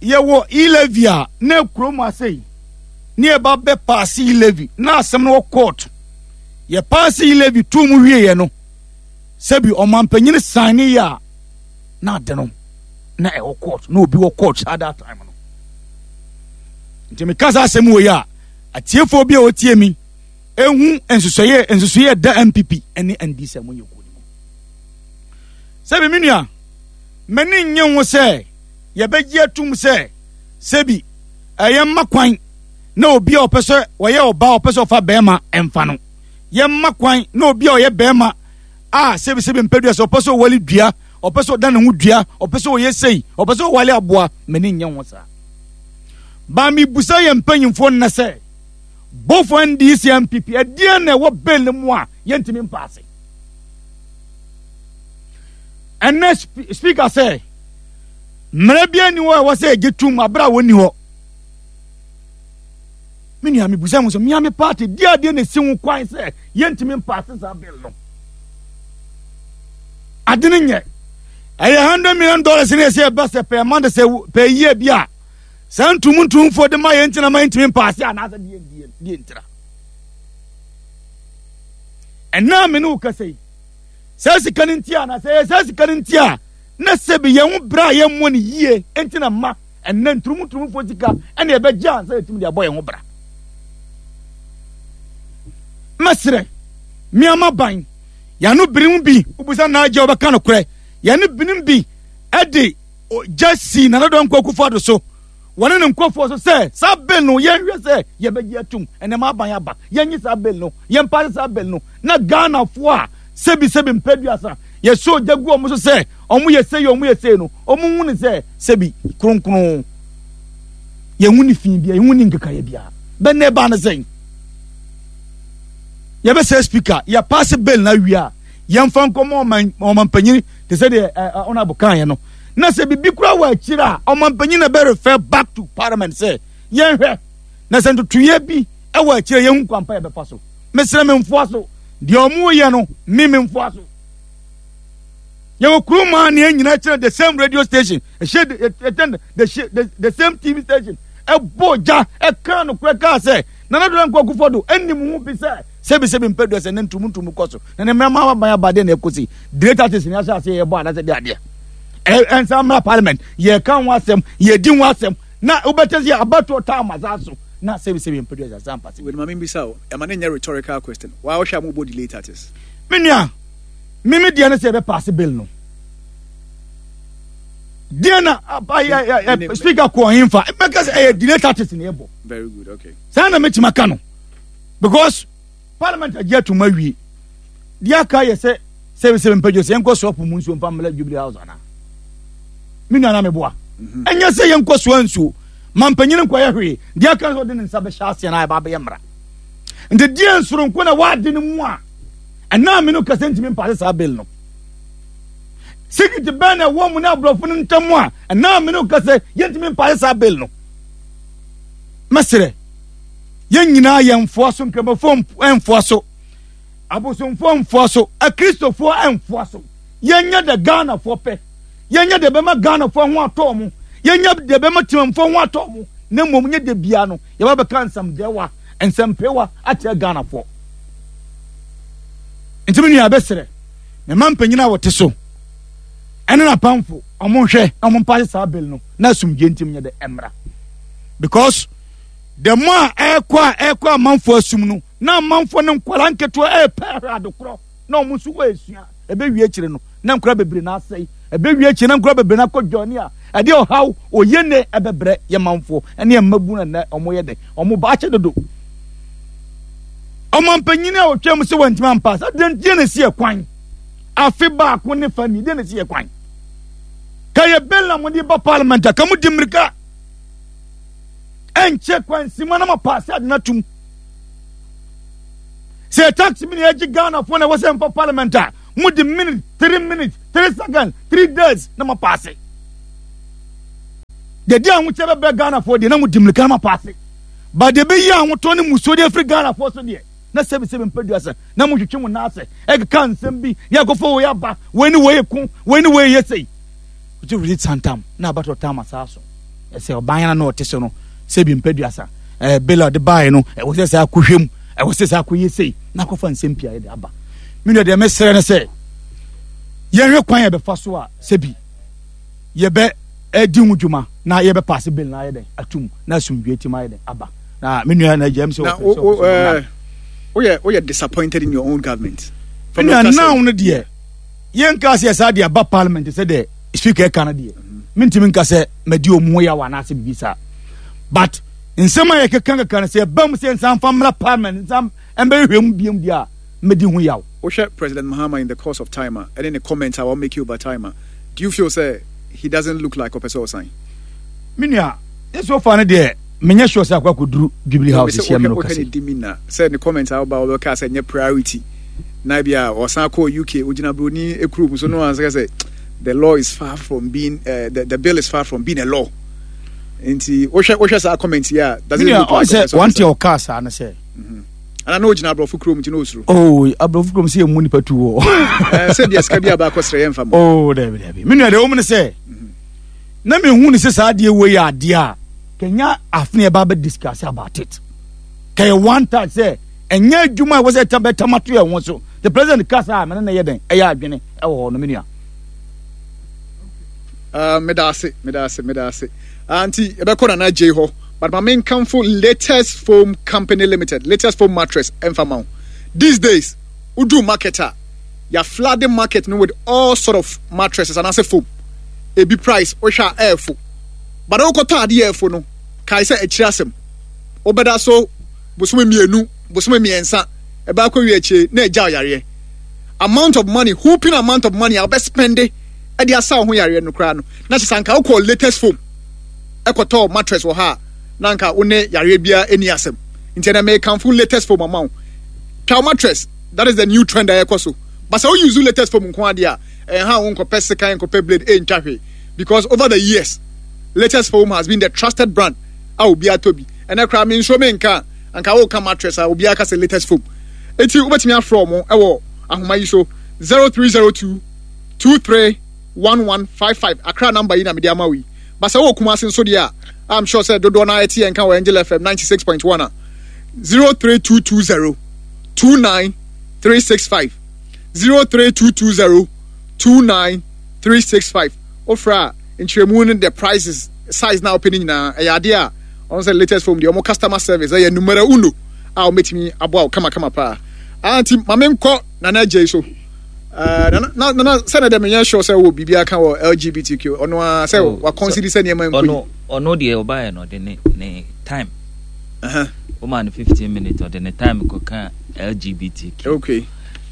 yɛwɔ e-levy a na kurom ase yi ne yɛba bɛ paase e-levy na asɛm no wɔ court. Yɛ paase e-levy tuu mu wieɛ no, sɛbi ɔmampanyin san ne yɛ a na ade no na ɛwɔ court na obi wɔ court saa that time no. Nti meka saa asɛm wɔ yi a, atiefoɔ bi a wɔtie mi ehu nsusɔyɛ nsusuyɛ da NPP ne NDC a monyɛ kuo no mu. Sɛbi me nua, m'ani nnye ho sɛ yɛbɛgye atum sɛ sɛbi ɛyɛ mma kwan na obi a ɔpɛ sɛ ɔyɛ ɔbaa ɔpɛ sɛ ɔfa bɛrima ɛmfa no. Yɛmma kwan na obi a ɔyɛ bɛrima a sɛbi sɛbi mpɛdua sɛ ɔpɛ sɛ ɔwale dua, ɔpɛ sɛ ɔda ne ho dua, ɔpɛ sɛ ɔyɛ sei, ɔpɛ sɛ ɔwale aboa, m'ani nnye ho saa. Ba mebusa yɛn mpanyimfoɔ nnɛ sɛ both NDC and NPP ɛdeɛn na ɛwɔ bill no mu a yɛntumi mpaase? Ɛnɛ speaker sɛ mmerɛ bi ani hɔ a ɛwɔ sɛ ɛgye tum abere a wɔnni hɔ. Me nua mebusa ho sɛ mea me party di adeɛ na ɛsi ho kwan sɛ yɛntumi mpaase saa bill no. Ade no nyɛ ɛyɛ $100 million ne ɛsɛ ɛba sɛ pɛɛ month sɛ pɛɛ yie bi a saa ntum ntumfoɔ de ma yɛn ntina ma yɛntumi mpaase anaasɛ deɛ deɛ deɛ ntira. Ɛnna me ne wo kasa yi saa sika no nti a na sɛ yɛ saa sika no nti a na sɛbi yɛn ho berɛ a yɛmmɔ no yie nti na ma ɛnna nturumuturumufoɔ sika ɛna ɛbɛgye ansa yɛtumi de abɔ yɛn ho bra. Mɛsrɛ mmeama ban yɛano binom bi wobusa naagye wɔbɛka no korɛ yɛne binom bi ɛde gya si Nana Dankwa Akufo-Addo so wɔne ne nkurɔfoɔ so sɛ saa bill no yɛnhwɛ sɛ yɛbɛgye atum ɛnɛ ma aban aba yɛnye saa bill no yɛmpaase saa bill no na Ghanafoɔ a sɛbi sɛbi mpɛduasa yɛsɛ ogya gu wɔn so sɛ wɔn yɛ sei wɔn yɛ sei no wɔn hu ne sɛ sɛbi kronkron yɛn ho ne fi bia yɛn ho ne nkekaeɛ bia bɛn na ɛbaa no sɛn yɛbɛsɛ speaker yɛpaase bill na awie a yɛmfa nkɔmɔ ɔman panyin te sɛ deɛ ɔnabɔ kan yɛ no na sɛ biribi kura wɔ akyire a ɔman panyin na bɛ refer back to parliament sɛ yɛnhwɛ na sɛ ntotoyɛ bi wɔ akyire yɛn ho kwampa yɛbɛfa so mesrɛ me mfoa so deɛ ɔmo yɛ no me me mfoa so yɛwɔ kurom a ne yɛn nyinaa kyerɛ the same radio station ɛhyɛ ɛkyɛn the the same tv station ɛbɔ gya ɛka nokorɛ kaa sɛ Nana Addo Dankwa Akufo-Addo anim ho bi sɛ sɛbi sɛbi mpɛdua sɛ ne ntumu ntumu kɔ so na ne mmarima aban aba deɛ na ɛkɔsi great artist ne ahyɛ aseɛ yɛbɔ anaasɛ de adeɛ ɛnsa mmra parliament yɛka ho asɛm yɛdi ho asɛm na wobɛtɛ sɛ abatoɔ taa ma saa so na sɛbi sɛbi mpɛdua sɛ asampa sɛ. Wei ma membisa o, ɛma ne nyɛ rhetorical question. Waa wohwɛ a mobɔ delay tactics. Me nua, me me deɛ ne sɛ yɛbɛpaase bill no. Deɛ na speaker kɔɔ hemfa mɛka sɛ ɛyɛ delay tactics na yɛbɔ. Very good, okay. Saa na mɛtumi aka no because parliament agye atum awie. Deɛ aka yɛ sɛ sɛ sɛ mpɛdwo sɛ yɛnkɔ soa po mu nsuo mfa mmla Jubilee House anaa. Me nua na meboa. Mhm. Ɛnyɛ sɛ yɛnkɔ soa nsuo ma mpanyin nkɔyɛ hwee. Deɛ aka sɛ ɔde ne nsa bɛhyɛ aseɛ na ɛba abɛyɛ mmara. Nti deɛ nsoronko na wɔade no mu a ɛnaa me no kasa ntumi mpaase saa bill no. Secret bɛn na ɛwɔ mu ne aborɔfo no ntam a ɛnaa me no kasa yɛntumi mpaase saa bill no. Mɛsrɛ, yɛn nyinaa yɛn mfoa so, nkramofoɔ mfoa so, abosomfoɔ mfoa so, akristofoɔ mfoa so. Yɛnyɛ dɛ Ghanafoɔ pɛ, yɛnyɛ dɛ bɛma Ghanafoɔ ho atɔ mo, yɛnyɛ dɛ bɛma Temanfoɔ ho atɔ mo, na mmom nyɛ dɛ bia no yɛba bɛka nsɛmdɛwa, nsɛmpewa akyerɛ Ghanafoɔ. Nti me nua bɛsrɛ, mema mpanyin a wɔte so ɛne n'apamfo ɔmo nhwɛ na ɔmo mpaase saa bill no na asomdwe ntim nyɛ dɛ ɛmmra. Because the more a ɛkɔ a ɛkɔ amanfoɔ asum no na amanfoɔ no nkwadaa nketewa ɛrepɛ ahwɛ adekorɔ na wɔn nso wɔresua ɛbɛwie akyire no na nkwadaa bebree na asɛe ɛbɛwie akyire na nkwadaa bebree na akɔ dwane a ɛde ɔhaw oyɛ ne ɛbɛbrɛ yɛ manfoɔ ɛne ɛmmabu na nɛ wɔn yɛ dɛ wɔn ba akyɛ dodo ɔmampanyini a ɔtwa mu sɛ wɔntumi ampa sɛ deɛ deɛ na esi ɛkwan afe baako ne fa ni deɛ na esi ɛkwan ka yɛ bɛn na mo de ba parliament a ka mo di mmirika ɛnkyɛ kwansima na ma paase ade no atum. Sɛ tax bi na yɛgye Ghanafoɔ na ɛwɔ sɛ mfa parliament a, mode minute, 3 minutes, 3 seconds, 3 days na moapaase. Deɛ de ahokyɛ bɛbrɛ Ghanafoɔ deɛ na mode mmirika na moapaase. Ba deɛ ɛbɛyi ahotɔ ne musuo de afiri Ghanafoɔ so deɛ, na sɛbisɛbi mpadua sɛ na motwetwe mo nan ase ɛkeka nsɛm bi ne akɔfa wei aba, wei ne wei ko, wei ne wei yɛ sei. Wote release santam na abatɔ tam asaa so. Ɛsɛ ɔban yana na ɔte so no sɛ bi mpadua sa. Ɛɛ bela ɔde baeɛ no ɛwɔ sɛ saa akɔhwɛ mu, ɛwɔ sɛ saa akɔyɛ sei na akɔfa nsɛm pii ayɛ de aba. Me nua deɛ mesrɛ ne sɛ yɛnhwɛ kwan yɛbɛfa so a sɛ bi yɛbɛ ɛdi ho dwuma na yɛbɛ paase bill na ayɛ dɛn atum na asomdwe atim ayɛ dɛn aba na me nua na agya m sɛ wɔpɛ sɛ woyɛ disappointed in your own government. Me nua now no deɛ yɛnka sɛ saa deɛ aba parliament sɛ deɛ speaker ɛka no deɛ mentumi nka sɛ madi ɔmu ho yaw anaasɛ biribi saa but nsɛm a yɛkeka keka no sɛ ɛba mu sɛ nsa mfa mmra parliament nsa mbɛhwehwɛ mu biam deɛ a mɛdi ho yaw. Wohwɛ President Mahama in the course of time a ɛne ne comments a wa make over time a do you feel sɛ he doesn't look like ɔpɛ sɛ ɔsan? Me nua, so far no deɛ menyɛ sure sɛ akɔ akɔduru Jubilee House hyia me no kase. Wohwɛ ne demeanor sɛ ne comments a woba wɔbɛka sɛ nyɛ priority na bi a ɔsan kɔɔ UK ogyina broni kurom so no ansa sɛ the law is far from being uh, the, the bill is far from being a law. Nti wohwɛ wohwɛ saa comment yi a does it look like sɛ one thing ɔkaa saa no sɛ ana na ogyina aborɔfo kurom nti na osuro. Oh aborɔfo kurom sɛ yɛmmu nipa tu wɔ. Sɛ deɛ sika bi a baakɔ srɛ yɛmfa mu. Oh dabi dabi me nua deɛ wɔm ne sɛ na mehu ne sɛ saa adeɛ wei yɛ adeɛ a kɛnya afene ɛba bɛ discuss about it kɛyɛ one time sɛ ɛnyɛ adwuma a ɛwɔ sɛ bɛtam ato yɛn ho so the president kasa a mene ne yɛ dɛn ɛyɛ adwene ɛwɔ hɔ no me nua. Meda ase meda ase meda ase nti yɛbɛkɔ nana gyei hɔ but ma menkamfo latest foam company limited latest foam mattress ɛmfa ma wo these days wodu market a yɛ flooding market no with all sort of mattresses anaasɛ foam ebi price wohwɛ a ɛɛfo but wokɔtɔ adeɛ ɛɛfo no kae sɛ akyiri asɛm wobɛda so bosome mmienu bosome mmiɛnsa ɛbɛ akɔ wie akyire na agya ɔyareɛ amount of money whooping amount of money a wobɛspɛnde ɛde asa wo ho yareɛ no koraa no na kyɛ sɛ anka wokɔɔ latest foam ɛkɔtɔɔ mattress wɔ ha a na anka wo ne yareɛ biara ɛni asɛm nti ɛnɛ mekamfo latest foam ama wo twa wo mattress that is the new trend a ɛkɔ so but sɛ wo use latest foam nko adeɛ a ɛnha wo nkɔpɛ sekan nkɔpɛ blade ɛntwa hwee because over the years latest foam has been the trusted brand a obiara tɔ bi ɛnɛ koraa me nsuo menka a anka woka mattress a obiara ka sɛ latest foam eti wobɛtumi afrɛ ɔmo ɛwɔ ahoma yi so 0302 231155 Accra number yi na mede ama wo yi but sɛ wowɔ Kumasi nso deɛ a I'm sure sɛ dodoɔ no ara ɛte yɛn nka wɔ Angel FM 96.1 a 03220 29365 03220 29365 wofrɛ a nkyerɛmu no the prices size na wopɛ no nyinaa ɛyɛ adeɛ a ɔno sɛ latest phone deɛ ɔmo customer service ɛyɛ numero uno a wɔbɛtumi aboa wo kamakama paa nti ma menkɔ Nana Agyei so Eh, nana nana sɛ na dɛ menyɛ sure sɛ wɔ biribi aka wɔ LGBTQ ɔno ara sɛ oh, wakɔnsidi sɛ nneɛma nkɔ yi. Ɔno deɛ ɔbaeɛ no ɔde ne ne time. Woma no 15 minutes ɔde ne time kɔka LGBTQ. Okay.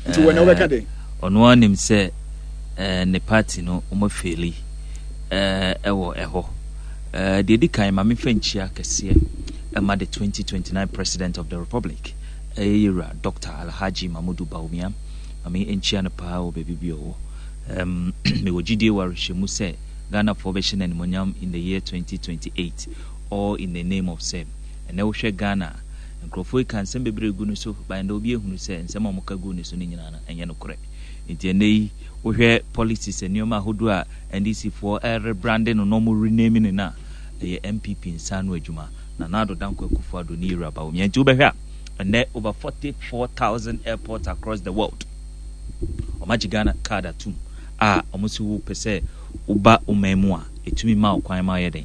Nti wɔ na wobɛka de. Ɔno ara nim sɛ eh, ne party no wɔn afeeli eh, ɛwɔ ɛhɔ. Deɛ di kan ma memfa nkyia kɛseɛ ɛma the 2029 President of the Republic ɛyɛ yɛwura Dr. Alhaji Mamudu Bawumia. Maame nkyia no paa wɔ baabi bi ɔwɔ. Um, mewɔ gyidie wɔ awerɛhyɛmu sɛ Ghanafoɔ bɛhyɛ no animuonyam in the year 2028 all in the name of sɛ ɛnɛ wohwɛ Ghana a, nkurɔfoɔ yi ka nsɛm bebree gu no so, but ɛnɛ obi ehunu sɛ nsɛm a wɔka gu ne so no nyinaa no ɛnyɛ nokorɛ. Nti ɛnɛ yi wohwɛ policies nneɛma ahodoɔ a NDC foɔ ɛrebrande no na wɔn rename no no a, ɛyɛ NPP nsa ano adwuma. Nana Addo Dankwa Akufo-Addo ne Yewura Bawumia. Nti wobɛhwɛ a ɛnɛ over 44,000 airports across the world wɔn agye Ghana card atum a wɔn si wo pɛ sɛ woba wo man mu a ɛtumi ma wo kwan ma ɔyɛ den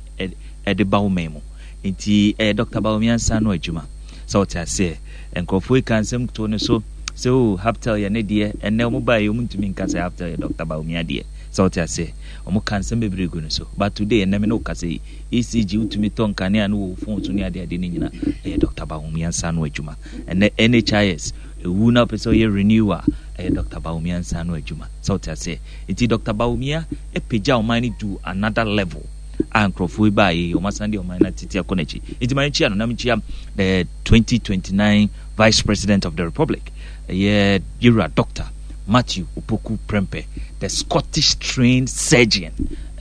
ɛde ba wo man mu nti ɛyɛ Dr. Bawumia nsa ano adwuma sɛ ɔte aseɛ nkurɔfoɔ yi ka nsɛm to ne so sɛ o oh, Haptel yɛ ne deɛ ɛnɛ wɔn baa yi wɔn ntumi nka sɛ Haptel yɛ Dr. Bawumia deɛ sɛ ɔte aseɛ wɔn ka nsɛm bebree gu ne so but today ɛnɛ me ne wo kasa yi ECG wotumi tɔ nkanea no wɔ wo phone so ne adeade no nyina ɛyɛ Dr. Bawumia nsa ano adwuma ɛnɛ NHIS ɛwu na wopɛ sɛ ɔyɛ renew a ɛyɛ Dr. Bawumia nsa ano adwuma sɛ wote aseɛ nti Dr. Bawumia apagya ɔman no to another level. a nkurɔfoɔ yi baayɛ yi wɔn asan de ɔman no atete akɔ n'akyi. Nti ma nkyia no na menkyia the 2029 Vice President of the Republic ɛyɛ Yewura Doctor Matthew Opoku Prempeh, the Scottish trained surgeon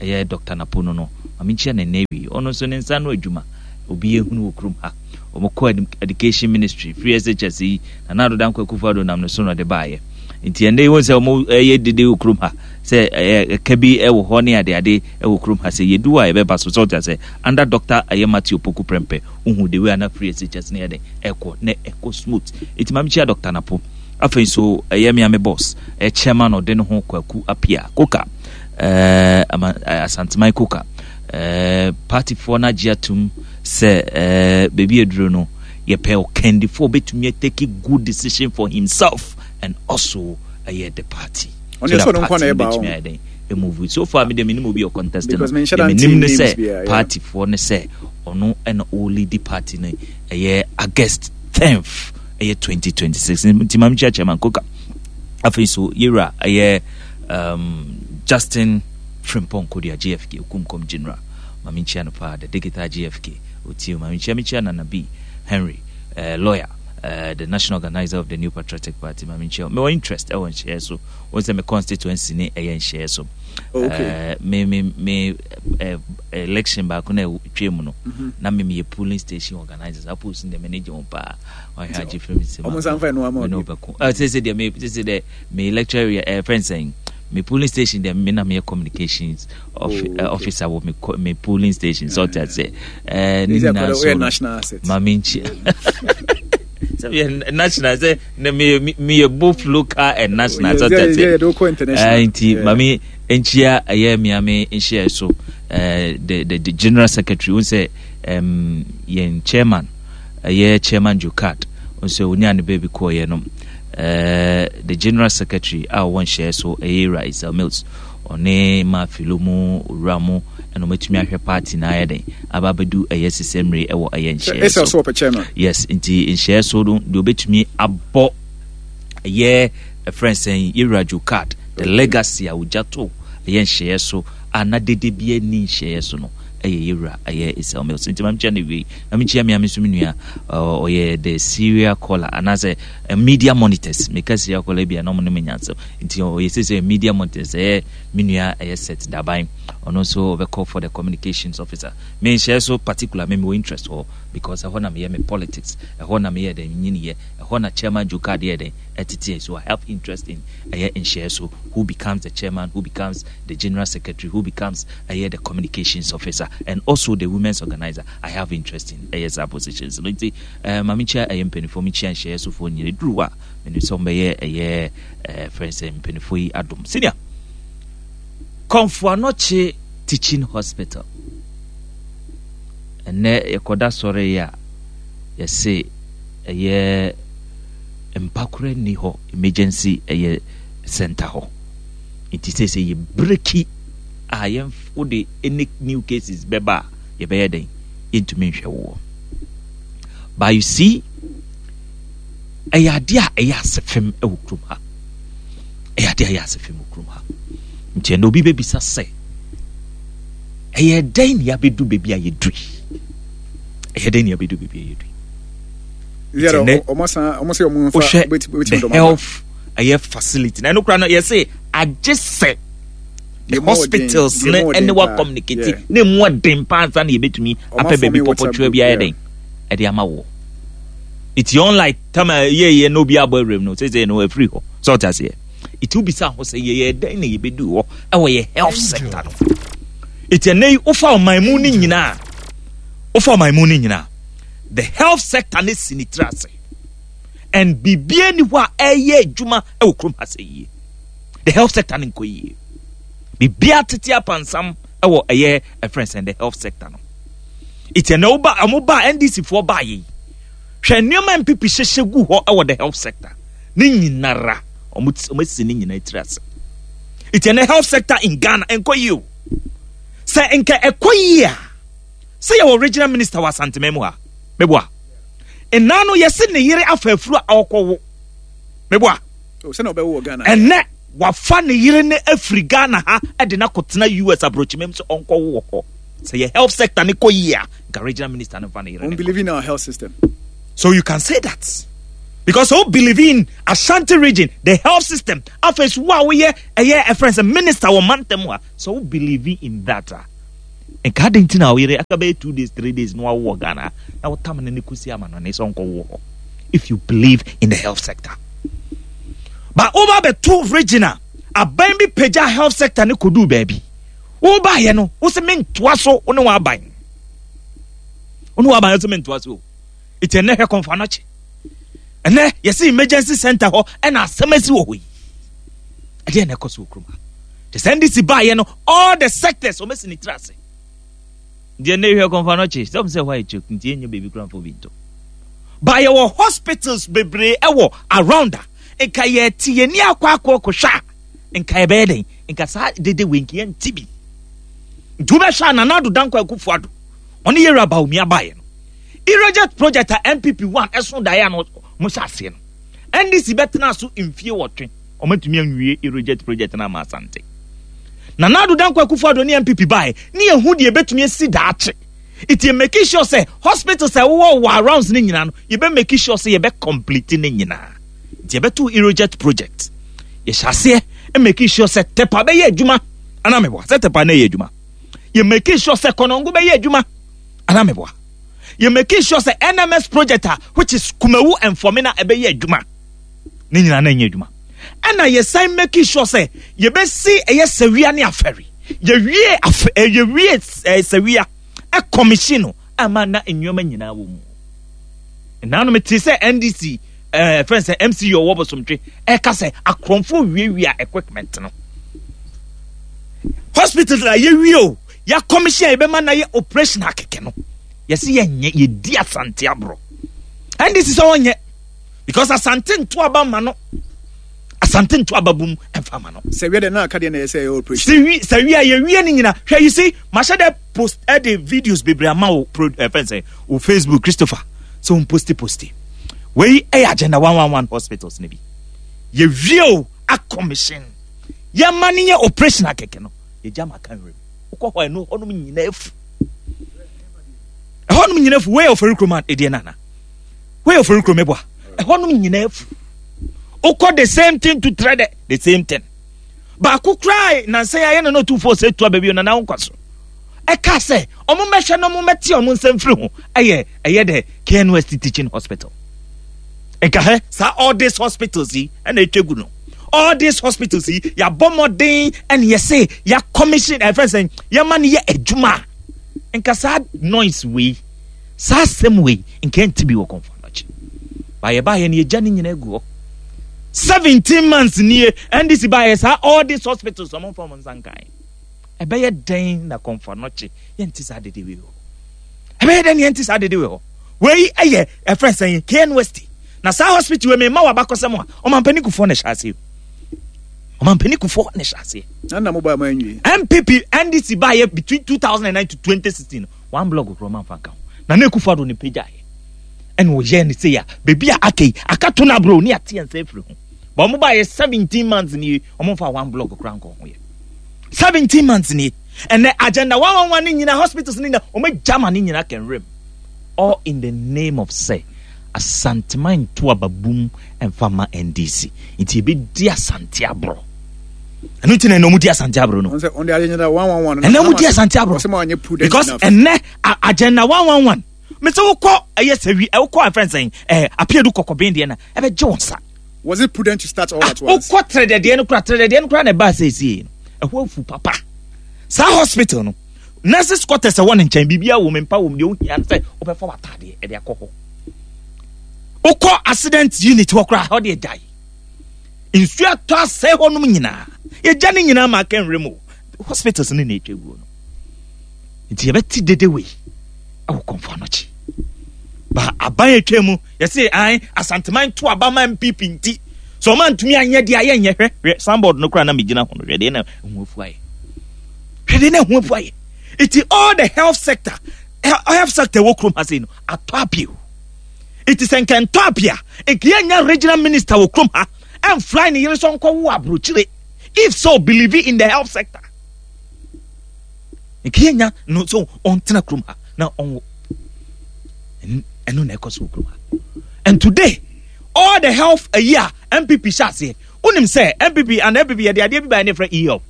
ɛyɛ Doctor Napo no no. Ma menkyia no ɛnnɛ awie. Ɔno nso ne nsa ano adwuma obi ehunu wɔ kurom ha. Wɔn kɔ education ministry free SHS yi Nana Addo Dankwa Akufo-Addo nam ne so na ɔde baayɛ. Nti ɛnnɛ yi wɔn sɛ wɔn ɛyɛ dede wɔ kurom ha sɛ ɛyɛ ɛka bi ɛwɔ hɔ ne adeade ɛwɔ kurom ha sɛ yɛdu hɔ a yɛbɛba so sɛ ɔte asɛ under Doctor ɛyɛ Matthew Opoku Prempeh wohu the way a na free SHS no yɛ den ɛkɔ na ɛkɔ smooth. Nti ma mekyia Doctor Napo. Afei nso ɛyɛ me a me boss ɛyɛ chairman ɔde ne ho Kwaku Apia Koka ɛɛ ama Asanteman Koka ɛɛ partyfoɔ no agye atum sɛ ɛɛ baabi aduro no yɛpɛ ɔkandifoɔ ɔbɛtumi atake good decision for himself and also ɛyɛ the party so that party no bɛtumi ayɛ dɛn move so far me deɛ menim obi ɔcontest no deɛ menim ne sɛ partyfoɔ ne sɛ ɔno ɛna ɔlead party no ɛyɛ August 10th ɛyɛ 2026 nti ma mekyia chairman koka afei so yɛwura ɛyɛ um, Justin Frimpong Kodua JFK Okumkom General ma menkyia no paa the digital JFK otie ma menkyia mekyia Nana B Henry uh, lawyer uh, the national organizer of the New Patriotic Party ma menkyia mewɔ interest ɛwɔ nhyɛɛ so wɔn sɛ me constituency ne ɛyɛ nhyɛɛ so oh, okay. uh, me me me uh, election baako na ɛtwa mu no mm -hmm. na me meyɛ polling station organizer saa post no deɛ m'ani gye ho paa ɔhwɛ agye firi me nsam ɔmo nsa nfa ɛno ama ɔbi ɔbɛko ɛ sɛ sɛ deɛ me sɛ sɛ deɛ me electoral area ɛ fɛn sɛn me polling station deɛ me na meyɛ communications oh, okay. officer wɔ me me polling station sɛ ɔte ase ɛɛ ne nyinaa so no ma me nkyi sɛ meyɛ national sɛ na meyɛ meyɛ both local and national sɛ ɔte ase ɛɛ nti ma me nkyia ɛyɛ mmea me nhyia so ɛɛ the the the general secretary n sɛ ɛm yɛn chairman ɛyɛ chairman Jocard nso onyaa ne baabi kɔɔeɛ no ɛɛ the general secretary a ɔwɔ nhyɛɛ so ɛyɛ Ewura Isel Mills ɔne ma filo mu owura mu ɛna ɔmatumi ahwɛ party na ayɛ den aba abɛdu ɛyɛ sisɛ mmere ɛwɔ ɛyɛ nhyɛɛ so yes nti nhyɛɛ so no deɛ ɔbɛtumi abɔ ɛyɛ ɛfrɛ sɛn yɛwura Jocard the legacy a ɔgya to ɛyɛ nhyɛɛ so a na dede bi ani nhyɛɛ so no ɛyɛ yɛwura ɛyɛ Isel Mills nti ma mekyia no wie na mekyia me ame so me nua ɔyɛ the serial caller anaasɛ media monitors meka serial caller bi a na ɔmo ne me nyansɛm nti ɔyɛ sɛ sɛ media monitors ɛyɛ me nua ɛyɛ set daban ɔno nso ɔbɛkɔ for the communications officer menhyɛ so particular me mewɔ interest hɔ because ɛhɔ na meyɛ me politics ɛhɔ na meyɛ dɛn nyiniyɛ ɛhɔ na chairman Joe Card yɛ dɛn ɛteteɛ so I have interest in ɛyɛ nhyɛ so who becomes the chairman who becomes the general secretary who becomes ɛyɛ the communications officer and also the women's organizer I have interest in ɛyɛ saa positions no nti ɛɛ maame kyia ɛyɛ mpanimfoɔ mi kyia nhyɛɛ sofoɔ nyina duru hɔ a menim sɛ wɔbɛyɛ ɛyɛ ɛɛ fɛn sɛ mpanimfoɔ yi adom senior Komfo Anokye teaching hospital ɛnɛ yɛkɔda sɔre yi a yɛse ɛyɛ mpakora nni hɔ emergency ɛyɛ center hɔ nti sɛ sɛ yɛ breki a yɛn wode any new cases bɛba a yɛbɛyɛ dɛn yɛntumi nhwɛ woɔ but you see ɛyɛ adeɛ a ɛyɛ ase fam wɔ kurom ha ɛyɛ adeɛ a ɛyɛ ase fam wɔ kurom ha nti ɛnna obi bɛbisa sɛ ɛyɛ dɛn na yɛabɛdu baabi a yɛdu yi ɛyɛ dɛn na yɛabɛdu baabi a yɛdu yi wohwɛ the health ɛyɛ facility na ɛno koraa no yɛse agye sɛ the hospitals ne ɛne wa communicate na emu ɔden paa nsa na yɛbɛtumi apɛ baabi pɔpɔtwerɛ bi ayɛ den ɛde ama wɔ eti unlike tam a yɛyɛ na obi abɔ awuram no sɛ sɛ no afiri hɔ sɛ ɔte aseɛ eti wobisa ho sɛ yɛyɛ dɛn na yɛbɛdu hɔ ɛwɔ yɛ health sector no eti ɛnɛ yi wofa ɔman mu no nyinaa wofa ɔman mu no nyinaa the health sector ne si ne tiri ase and biribiara ni hɔ a ɛyɛ adwuma ɛwɔ kurom ha sɛ yie the health sector no nkɔ yie biribiara tete apansam ɛwɔ ɛyɛ ɛfrɛ sɛn the health sector no eti ɛnɛ woba ɔmo ba ndc foɔ ba yɛ yi hwɛ nneɛma npp hyehyɛ gu hɔ ɛwɔ the health sector ne nyinara ɔmo ɔmo asi ne nyinaa tiri ase eti ɛnɛ health sector in ghana nkɔ yie o sɛ nka ɛkɔ yie a sɛ yɛwɔ regional minister wɔ asanteman mu ha meboa nna no yɛse ne yere afa afuru a ɔkɔwo meboa oh, ɛnɛ wafa ne yere no afiri ghana ha de no akɔtena us aburokyimam sɛ ɔnkɔwo wɔ hɔ. Sɛ yɛ health sector ne kɔ yie a, nka regional minister no nfa ne yere ne believe in our health system. So you can say that. Because so believe in Ashanti region, the health system. Afei so wo a woyɛ ɛyɛ ɛfrɛ sɛ minister wɔ mantam a, so wo believe in that a. Nka adɛn nti na wo yere aka bɛyɛ 2 days 3 days na wawo wɔ Ghana na wotam no ne kɔsi ama no ne sɛ ɔnkɔwo hɔ. If you believe in the health sector. But woba bɛto region a aban bi pagya health sector ne kɔduu baabi. Wobaeɛ no, wo se mentoa so wo ne w'aban. Wo ne w'aban wo se mentoa so. Eti ɛnɛ hwɛ kɔnfa nɔkye. Ɛnɛ yɛsi emergency center hɔ ɛna asɛm asi wɔ hɔ yi. Ɛdeɛ na ɛkɔ so wɔ kurom ha. Te sɛ NDC baeɛ no, all the sectors wɔn asi ne tiri ase. Deɛ ɛnɛ hwɛ kɔnfa nɔkye sɛ wɔn sɛ hɔ ayɛ kyɛ nti yɛnyɛ baabi kura mfo bi nto. Ba yɛwɔ hospitals bebree ɛwɔ around a nka yɛte yɛn ni akɔ akɔ kɔhwɛ a nka yɛbɛyɛ dɛn nka saa dede wei nka yɛnte bi. Nti wobɛhwɛ a Nana Addo Dankwa Akufo-Addo ɔne Yɛwura Bawumia baeɛ no Irrigate project a NPP 1 ɛso daeɛ a na wɔhyɛ aseɛ no NDC bɛtena so mfie wɔtwe wɔatumi anwie Irrigate project no ama Asante. Nana Addo Dankwa Akufo-Addo ne NPP baeɛ ne yɛhu deɛ ɛbɛtumi asi daakye. Nti yɛ make sure sɛ hospitals a ɛwowɔ wɔ arounds no nyinaa no yɛbɛ make sure sɛ yɛbɛ complete ne nyinaa. Nti yɛbɛto Irrigate project. Yɛhyɛ aseɛ make sure sɛ Tepa bɛyɛ adwuma anaa meboa sɛ Tepa na ɛyɛ adwuma. Yɛ make sure sɛ Kɔnɔngo bɛyɛ adwuma anaa meboa. Yɛ make sure sɛ NMS project a which is Kumawu and Fomena ɛbɛyɛ adwuma. Ne nyinaa na ɛnyɛ adwuma. Ɛna yɛsan make sure sɛ yɛbɛsi ɛyɛ Sawia ne Afɛri. Yɛwie afɛ eh, yɛwie eh, Sawia ɛkɔmihyin no ama na nneɛma nyinaa wɔ mu. Nnanom te sɛ NDC ɛɛ fɛn sɛ MCU ɔwɔ bosomtwe ɛka sɛ akorɔmfoɔ wiawia equipment no. Hospital a yɛwie o, yɛakɔmihyin a yɛbɛma na yɛ operation akɛkɛ no. Yɛsi yɛnyɛ yɛdi Asante aborɔ. NDC sɛ wɔnyɛ because Asante nto aba ma no. Asante nto aba bum ɛmfa ma no. Sɛ wia deɛ na aka deɛ na ɛyɛ sɛ ɛyɛ operation. Sɛ wia yɛwie ne nyina hwɛ you see mahyɛ dɛ post ɛde videos bebree ama wo pro ɛfɛn sɛ wo Facebook Christopher sɛ wɔn posti posti wei ɛyɛ agenda 111 hospitals ne bi yɛwie o akɔmihyin yɛma ne yɛ operation akɛkɛ no yɛgya ma ka nwuram wokɔ hɔ ɛno hɔnom nyinaa afu ɛhɔnom nyinaa afu wei yɛ ɔfɛre kurom ɛdeɛ nana wei yɛ ɔfɛre kurom ɛboa ɛhɔnom nyinaa afu wokɔ the same thing to trɛ dɛ the same thing baako koraa nansa yi ayɛ na na ɔtumfoɔ sɛ tu aba bio na na nkwa so ɛka sɛ ɔmo mmɛhwɛ na ɔmo mmɛte ɔmo nsa mfiri ho ɛyɛ ɛyɛ dɛ KNUST teaching hospital nka hɛ saa all these hospitals yi ɛna atwa gu no all these hospitals yi yɛabɔ mmɔden ɛna yɛse yɛ commission ɛfɛn sɛ yɛma no yɛ adwuma nka saa noise wei saa asɛm wei nka ɛnte bi wɔ kɔnfɔ anɔkye ba yɛbaayɛ no yɛgya ne nyinaa gu hɔ 17 months nie NDC baayɛ saa all these hospitals ɔmo nfa ɔmo nsa nkan ɛbɛyɛ dɛn na kɔnfɔ anɔkye yɛnte saa dede wei hɔ ɛbɛyɛ dɛn na yɛnte saa dede wei hɔ wei ɛyɛ ɛfrɛ sɛn KNUST na saa hospital wei mema wabakɔsɛm a ɔmampanin kufoɔ na ɛhyɛ aseɛ ɔmampanin kufoɔ na ɛhyɛ aseɛ na mo ba ma nwie NPP NDC baayɛ between 2009 to 2016 one blog korɔ ma nfa nka ho na na Akufo Addo ne pagyaeɛ ɛna ɔyɛɛ ne sei a baabi a aka yi aka to no aborɔ ne ate yɛn nsa afiri ho ba ɔmo baayɛ 17 months nie ɔmo nfa one blog koraa nkɔ ho yɛ 17 months nie ɛnɛ agenda 111 ne nyina hospitals ne nyina ɔmo agya ma ne nyina kɛnwerɛm all in the name of sɛ Asanteman nto ababum mfa ma NDC nti ebedi Asante aborɔ ɛno nti na ɛnɛ ɔmo di Asante aborɔ no ɛnɛ ɔmo di Asante aborɔ because ɛnɛ agenda 111 mese wokɔ ɛyɛ sɛwi wokɔ ɛfrɛ nsɛn ɛɛ apiadu kɔkɔben deɛ na ɛbɛgye wɔn nsa. Was it prudent to start all at once? Wokɔ trɛdɛdeɛ no kora trɛdɛdeɛ no kora na ɛbaa sɛesie no ɛhɔ afu papa saa hospital no nurses quarters ɛwɔ ne nkyɛn biribiara wɔ mu mpa wɔ mu deɛ wohia no sɛ wobɛfa w'ataadeɛ ɛde akɔ hɔ wokɔ accident unit hɔ koraa hɔ deɛ gyae nsuo atɔ asɛe hɔnom nyinaa yɛgya ne nyinaa ma aka nwerɛ mu hospitals no na ɛtwa guo no nti yɛbɛte dede wei ɛwɔ kɔmfo anɔkye ba aban atwa mu yɛse an asanteman to aba ma npp nti sɛ ɔma ntumi anyɛ deɛ ayɛ nyɛ hwɛ hwɛ signboard no koraa na megyina ho no hwɛ deɛ na ɛho afu ayɛ hwɛ deɛ na ɛho afu ayɛ nti all the health sector health sector wɔ kurom ha sei no atɔ apio nti sɛ nka ntɔ apia nka yɛnya regional minister wɔ kurom ha ɛmfly ne yere sɛ ɔnkɔwo aburokyire if so believe in the health sector. Nka yɛnya no sɛ ɔntena kurom ha na ɔnwo. Ɛno na ɛkɔ so wɔ kurom ha. And today, all the health ayi a NPP hyɛ aseɛ. Wonim sɛ NPP and NPP yɛde adeɛ bi baeɛ ne yɛfrɛ e-health.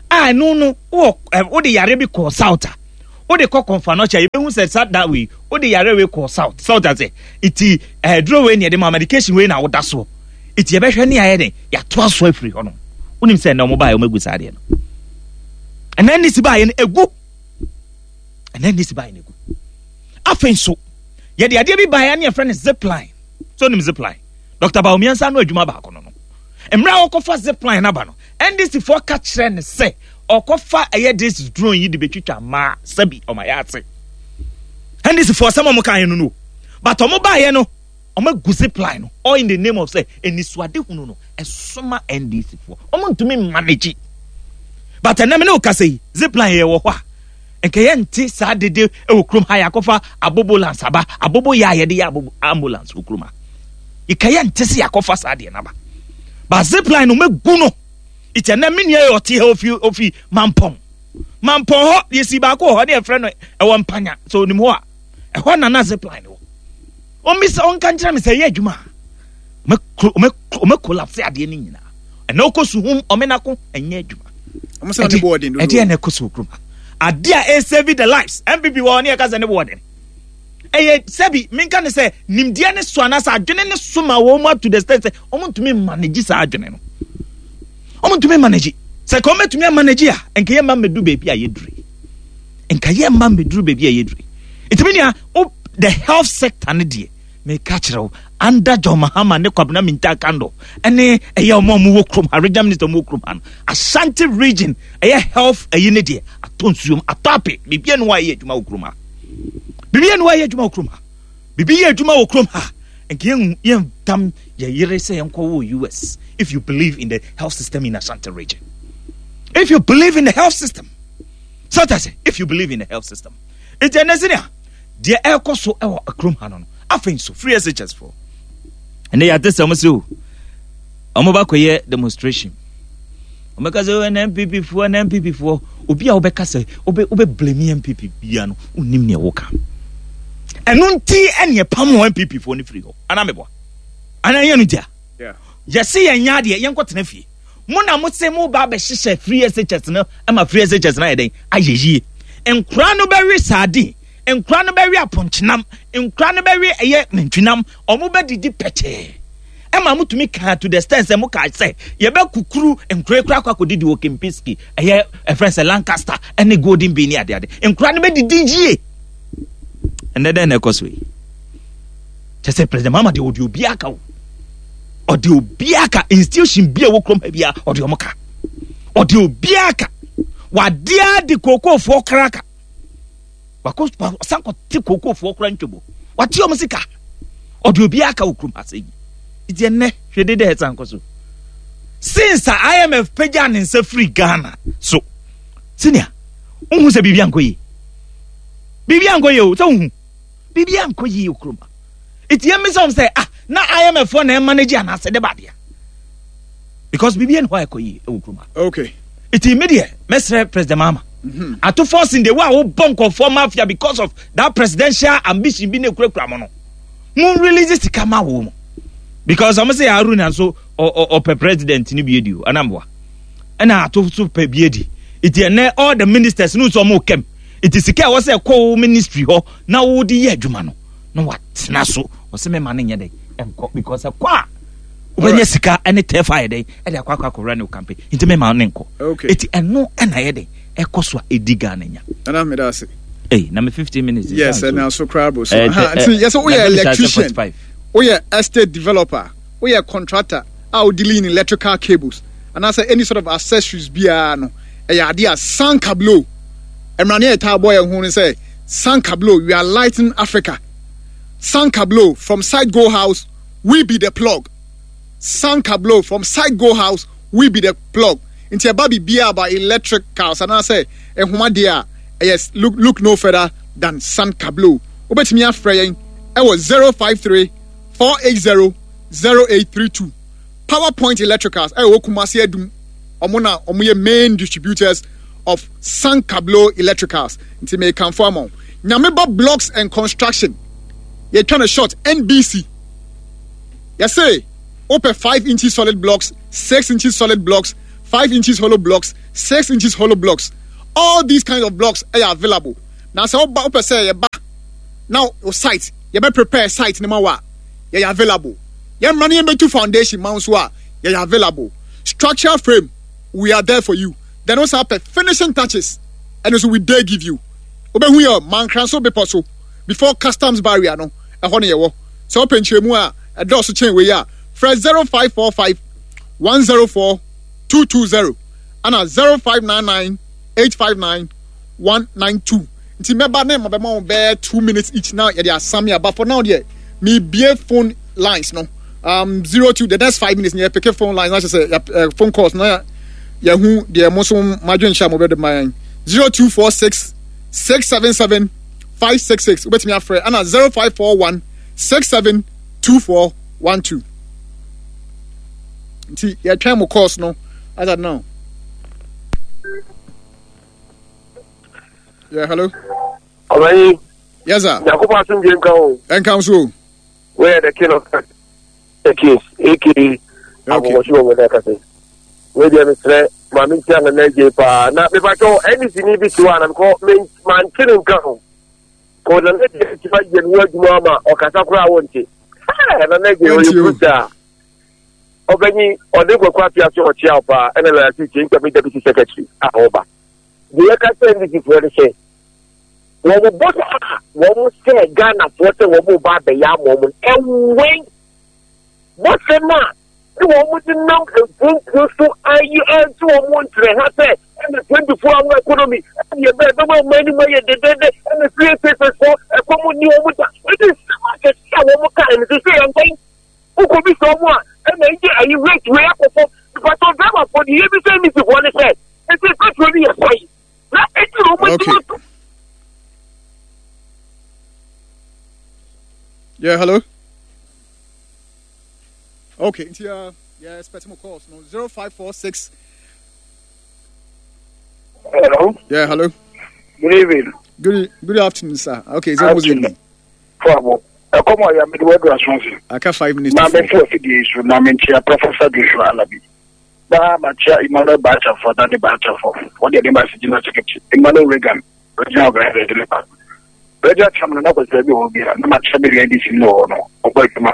A ɛno no wowɔ wode yareɛ bi kɔɔ south a wode kɔ kɔnfa nɔkyɛ yɛbɛhu sɛ sa da wei wode yareɛ wei kɔɔ south south ase iti ɛduro wei ne yɛde ma medication wei na woda soɔ iti yɛbɛhwɛ ne ayɛ den yɛatoa so afiri hɔ nom. Wonim sɛ ɛnɛ wɔn baeɛ wɔn agu saa adeɛ no. Ɛnɛ NDC baeɛ no egu. Ɛnɛ NDC baeɛ no egu. Afei nso yɛde adeɛ bi baeɛ ne yɛfrɛ no zipline. So nim zipline? Dr. Bawumia nsa ano adwuma baako no no. Mmerɛ a wɔkɔfa zipline no aba no, NDC foɔ ka kyerɛ no sɛ ɔkɔfa ɛyɛ this drone yi de bɛtwitwa mmaa sɛbi ɔma yɛ ase. NDC foɔ sɛm ɔmo kaeɛ no no. But ɔmo baeɛ no, ɔmo agu zipline no all in the name of sɛ anisoadehunu no ɛsoma NDC foɔ. Ɔmo ntumi manage. But ɛnɛ me ne wo kasa yi, zipline yɛ wɔ hɔ a, nka yɛnte saa dede wɔ kurom ha yɛakɔfa abobolance aba abobo yɛ a yɛde yɛ abobo ambulance wɔ kurom ha nka yɛnte sɛ yɛakɔfa saa deɛ no aba ba zipline no mɛgu no nti ɛnɛ me nua yɛ ɔte ha ofi ofi mampɔn mampɔn hɔ yɛsi baako wɔ hɔ ne yɛfrɛ no ɛwɔ mpanya sɛ onim hɔ a ɛhɔ nana zipline wɔ ɔmmisa ɔnka nkyerɛ me sɛ ɛyɛ adwuma a ɔmɛ collapse adeɛ no nyinaa ɛna ɔkɔ suhum ɔmenako ɛnyɛ adwuma ɛdeɛ na ɛkɔ so kurom ha adeɛ a ɛsave the lives mpp wɔ ne yɛka sɛ ne boɔden ɛyɛ sɛbi menka ne sɛ nimdeɛ ne so anaasɛ adwene ne so ma wɔn mu ato the state sɛ wɔn ntumi manage saa adwene no wɔn ntumi manage sɛ ka wɔn bɛtumi amanage a nka yɛ mma mmɛduru baabi a yɛduru nka yɛ mma mmɛduru baabi a yɛduru ɛtumi nea the health sector ne deɛ Meka kyerɛ wo, under John Mahama ne Kwabena Mintah Kando ɛne ɛyɛ ɔmo a ɔmo wɔ kurom ha, regional minister ɔmo wɔ kurom ha no, Ashanti region ɛyɛ health ɛyi ne deɛ atɔ nsuom, atɔ ape, biribi ɛne hɔ a ɛyɛ adwuma wɔ kurom ha. Biribi ɛne hɔ a ɛyɛ adwuma wɔ kurom ha. Biribi yɛ adwuma wɔ kurom ha. Nka yɛn yɛn tam yɛ yere sɛ yɛn kɔ wɔ US if you believe in the health system in Ashanti region. If you believe in the health system. So that's it. If you believe in the health system. It's a Deɛ ɛrekɔ so wɔ kurom ha no no, afei nso free SHS foɔ ɛnɛ yɛate sɛ wɔn sɛ o wɔn ba kɔyɛ demonstration wɔn bɛka sɛ ɛnɛ NPP foɔ ɛnɛ NPP foɔ obi a wɔbɛka sɛ wɔbɛ wɔbɛ blame NPP bia no onim nea wɔka ɛno nti ɛne ɛpam wɔn NPP foɔ no firi hɔ anaa meboa anaa yɛn no ntia yɛse yɛn nyɛ adeɛ yɛn kɔ tena fie mo na mo se mo ba abɛhyehyɛ free SHS no ma free SHS no ayɛ dɛn ayɛ yie nkora no bɛwe sardine nkora no bɛwe apɔnkyenam nkora no bɛwe ɛyɛ nantwinam ɔmo bɛdidi pɛkyɛɛ ɛma mo tumi kaa to the extent sɛ mo kaa sɛ yɛbɛkukuru nkora kura akɔ akɔdidi wɔ Kempinski ɛyɛ ɛfrɛ sɛ Lancaster ɛne Golden Bay ne adeade nkora no bɛdidi yie ɛnɛ dɛn na ɛkɔ so yi kyɛ sɛ president Mahama deɛ ɔde obiara ka o ɔde obiara ka institution bi a ɛwɔ kurom ha biara ɔde ɔmo ka ɔde obiara ka wadeɛ de kookoofoɔ kra ka wakɔ ɔsan kɔ te kookoofoɔ kora ntwabo wate ɔmo sika ɔde obiara ka wɔ kurom ha sɛ yi nti ɛnɛ hwɛ dede ɛsan kɔ so since a IMF pagya ne nsa firi Ghana so senior wohu sɛ biribi ankɔ yie biribi ankɔ yie o sɛ wohu biribi ankɔ yie wɔ kurom ha nti yɛn mmisa wɔn sɛ ah na IMF foɔ na ɛmanage anaasɛ de ba adeɛ because biribi ɛni hɔ a ɛkɔ yie ɛwɔ kurom ha okay nti mi deɛ mɛsrɛ president Mahama mm-hmm. ato forcing de wo a wobɔ nkɔfoɔ mafia because of that presidential ambition bi na ekurakura mo no mo release sika ma wo mo because wɔn sɛ Haruna nso ɔpɛ president ni bi edi o anamboa ɛna ato so pɛ bi edi nti ɛnɛ all the ministers no nso wɔn kɛm nti sika a ɛwɔ sɛ ɛkɔ wo ministry hɔ na wode yɛ adwuma no na watena so ɔsɛ mɛma no nyɛ dɛ ɛnkɔ because ɛkɔ a wobɛnya sika ɛne tɛfa ayɛ dɛn ɛde akɔ akɔ akɔwura ne wo campaign nti mɛma no nkɔ eti ɛno ɛna yɛ dɛn ɛkɔ so a ɛdi Ghana nya. Nana meda ase. Hey, na me 15 minutes. Yes, ɛna so koraa bro so. Nti yɛ sɛ woyɛ electrician, woyɛ estate developer, woyɛ contractor a wo dealing in electrical cables anaasɛ any sort of accessories biara no ɛyɛ adeɛ a sankablo mmara ne ɛtaa bɔ yɛn ho no sɛ sankablo we are lighting Africa sankablo from site go house we be the plug sankablo from site go house we be the plug nti ɛba biribiara about electricals anaasɛ nhoma deɛ a ɛyɛ look, look no further than sankablo wobɛtumi afrɛ yɛn ɛwɔ 053 480 0832 Power Point Electricals ɛwɔ Kumasi Adum ɔmo na ɔmo yɛ main distributors. of Sankablo Electricals. Nti mekamfo ama wo. Nyameba Blocks and Construction. Yɛtwa no short NBC. Yɛse wopɛ 5 inches solid blocks, 6 inches solid blocks, 5 inches hollow blocks, 6 inches hollow blocks. All these kinds of blocks ɛyɛ available. Na sɛ woba wopɛ sɛ yɛba na wo site yɛbɛ prepare site no ma wo a yɛyɛ available. Yɛmmra na yɛmbɛtu foundation ma wo nso a yɛyɛ available. Structural frame we are there for you. Then wo san pɛ finishing touches ɛno nso we dare give you. Wobɛhu yɛ Mankranso bepɔ so before customs barrier no ɛhɔ na yɛwɔ. Sɛ wopɛ nkyerɛmu a ɛdɔɔso kyɛn wei a frɛ 0545 104 220 ana 0599 859 192 nti mɛba ne mabɛma wo bɛyɛ 2 minutes each na yɛde asame aba. For now deɛ mebie phone lines no 02 the next 5 minutes na yɛpeke phone lines na kyerɛ sɛ phone calls na yɛhu deɛ mo nso madwenhyɛ a mobɛde ma yɛn. 0246 677 566 wobɛtumi afrɛ ana 0541 672412. Nti yɛtwɛn mo calls no as at now. Yeah, hello. Ọbẹ̀yìn. Yes, sir. Nyankopɔn asomdwe nka o. Nka nso o. Where the king of the kings, aka Abɔwɔhye wɔ wɔn akasa. Wei deɛ mesrɛ maame ntia na na paa. Na mepatwɛ NDC ni bi te hɔ a na mekɔ mante ne nka ho. Kɔ na na gye ti ma yɛ ne ho adwuma ama ɔkasa koraa wonte. Na na gye ɔyɛ brutal. Ɔbɛnyi ɔde kwakwa apia so ɔkyea wo paa ɛna lɔya si kyɛ nkwa mi deputy secretary a ɔba. Deɛ yɛka sɛ NDC foɔ no sɛ wɔn bɔ a wɔn sɛ Ghanafoɔ sɛ wɔn ba abɛyɛ ama wɔn ɛwɛn bɔhyɛ no a ne wɔn de nam mpuntuo so ayi ɛnti wɔn nkyerɛ ha sɛ ɛna 24 hour economy ɛna ɛbɛ ɛbɛma ɔman anim ayɛ dedede ɛna free papers fo ɛkɔm ni wɔn da ɛde nsɛm akɛse a wɔn ka ɛno sɛ yɛn nkɔn wokɔ bi sɛ wɔn a ɛna ɛgye ayi rate wei akɔ fam pàtó driver fo deɛ ebi sɛ ndc foɔ ne sɛ ɛsɛ petrol ni yɛ sɛn na ɛdi wɔn Okay. Yeah, hello. Okay, nti yeah, expect more calls. No, 0546. Hello. Yeah, hello. Good evening. Good afternoon, sir. Okay, it's almost evening. Fabo. Ɛkɔm a yɛamede wadu asonse. Aka 5 minutes. Na mɛfo afidie so na menkyia Professor Joshua Alabi. Na makyia Emmanuel Bachafo na ne Bachafo. Wɔde ɛde ma General Secretary Emmanuel Reagan, Regional Organizer de ne ba. Regional Chairman na kwasi bi wɔ bi a na makyia me NDC no wɔ no ɔbɔ adwuma.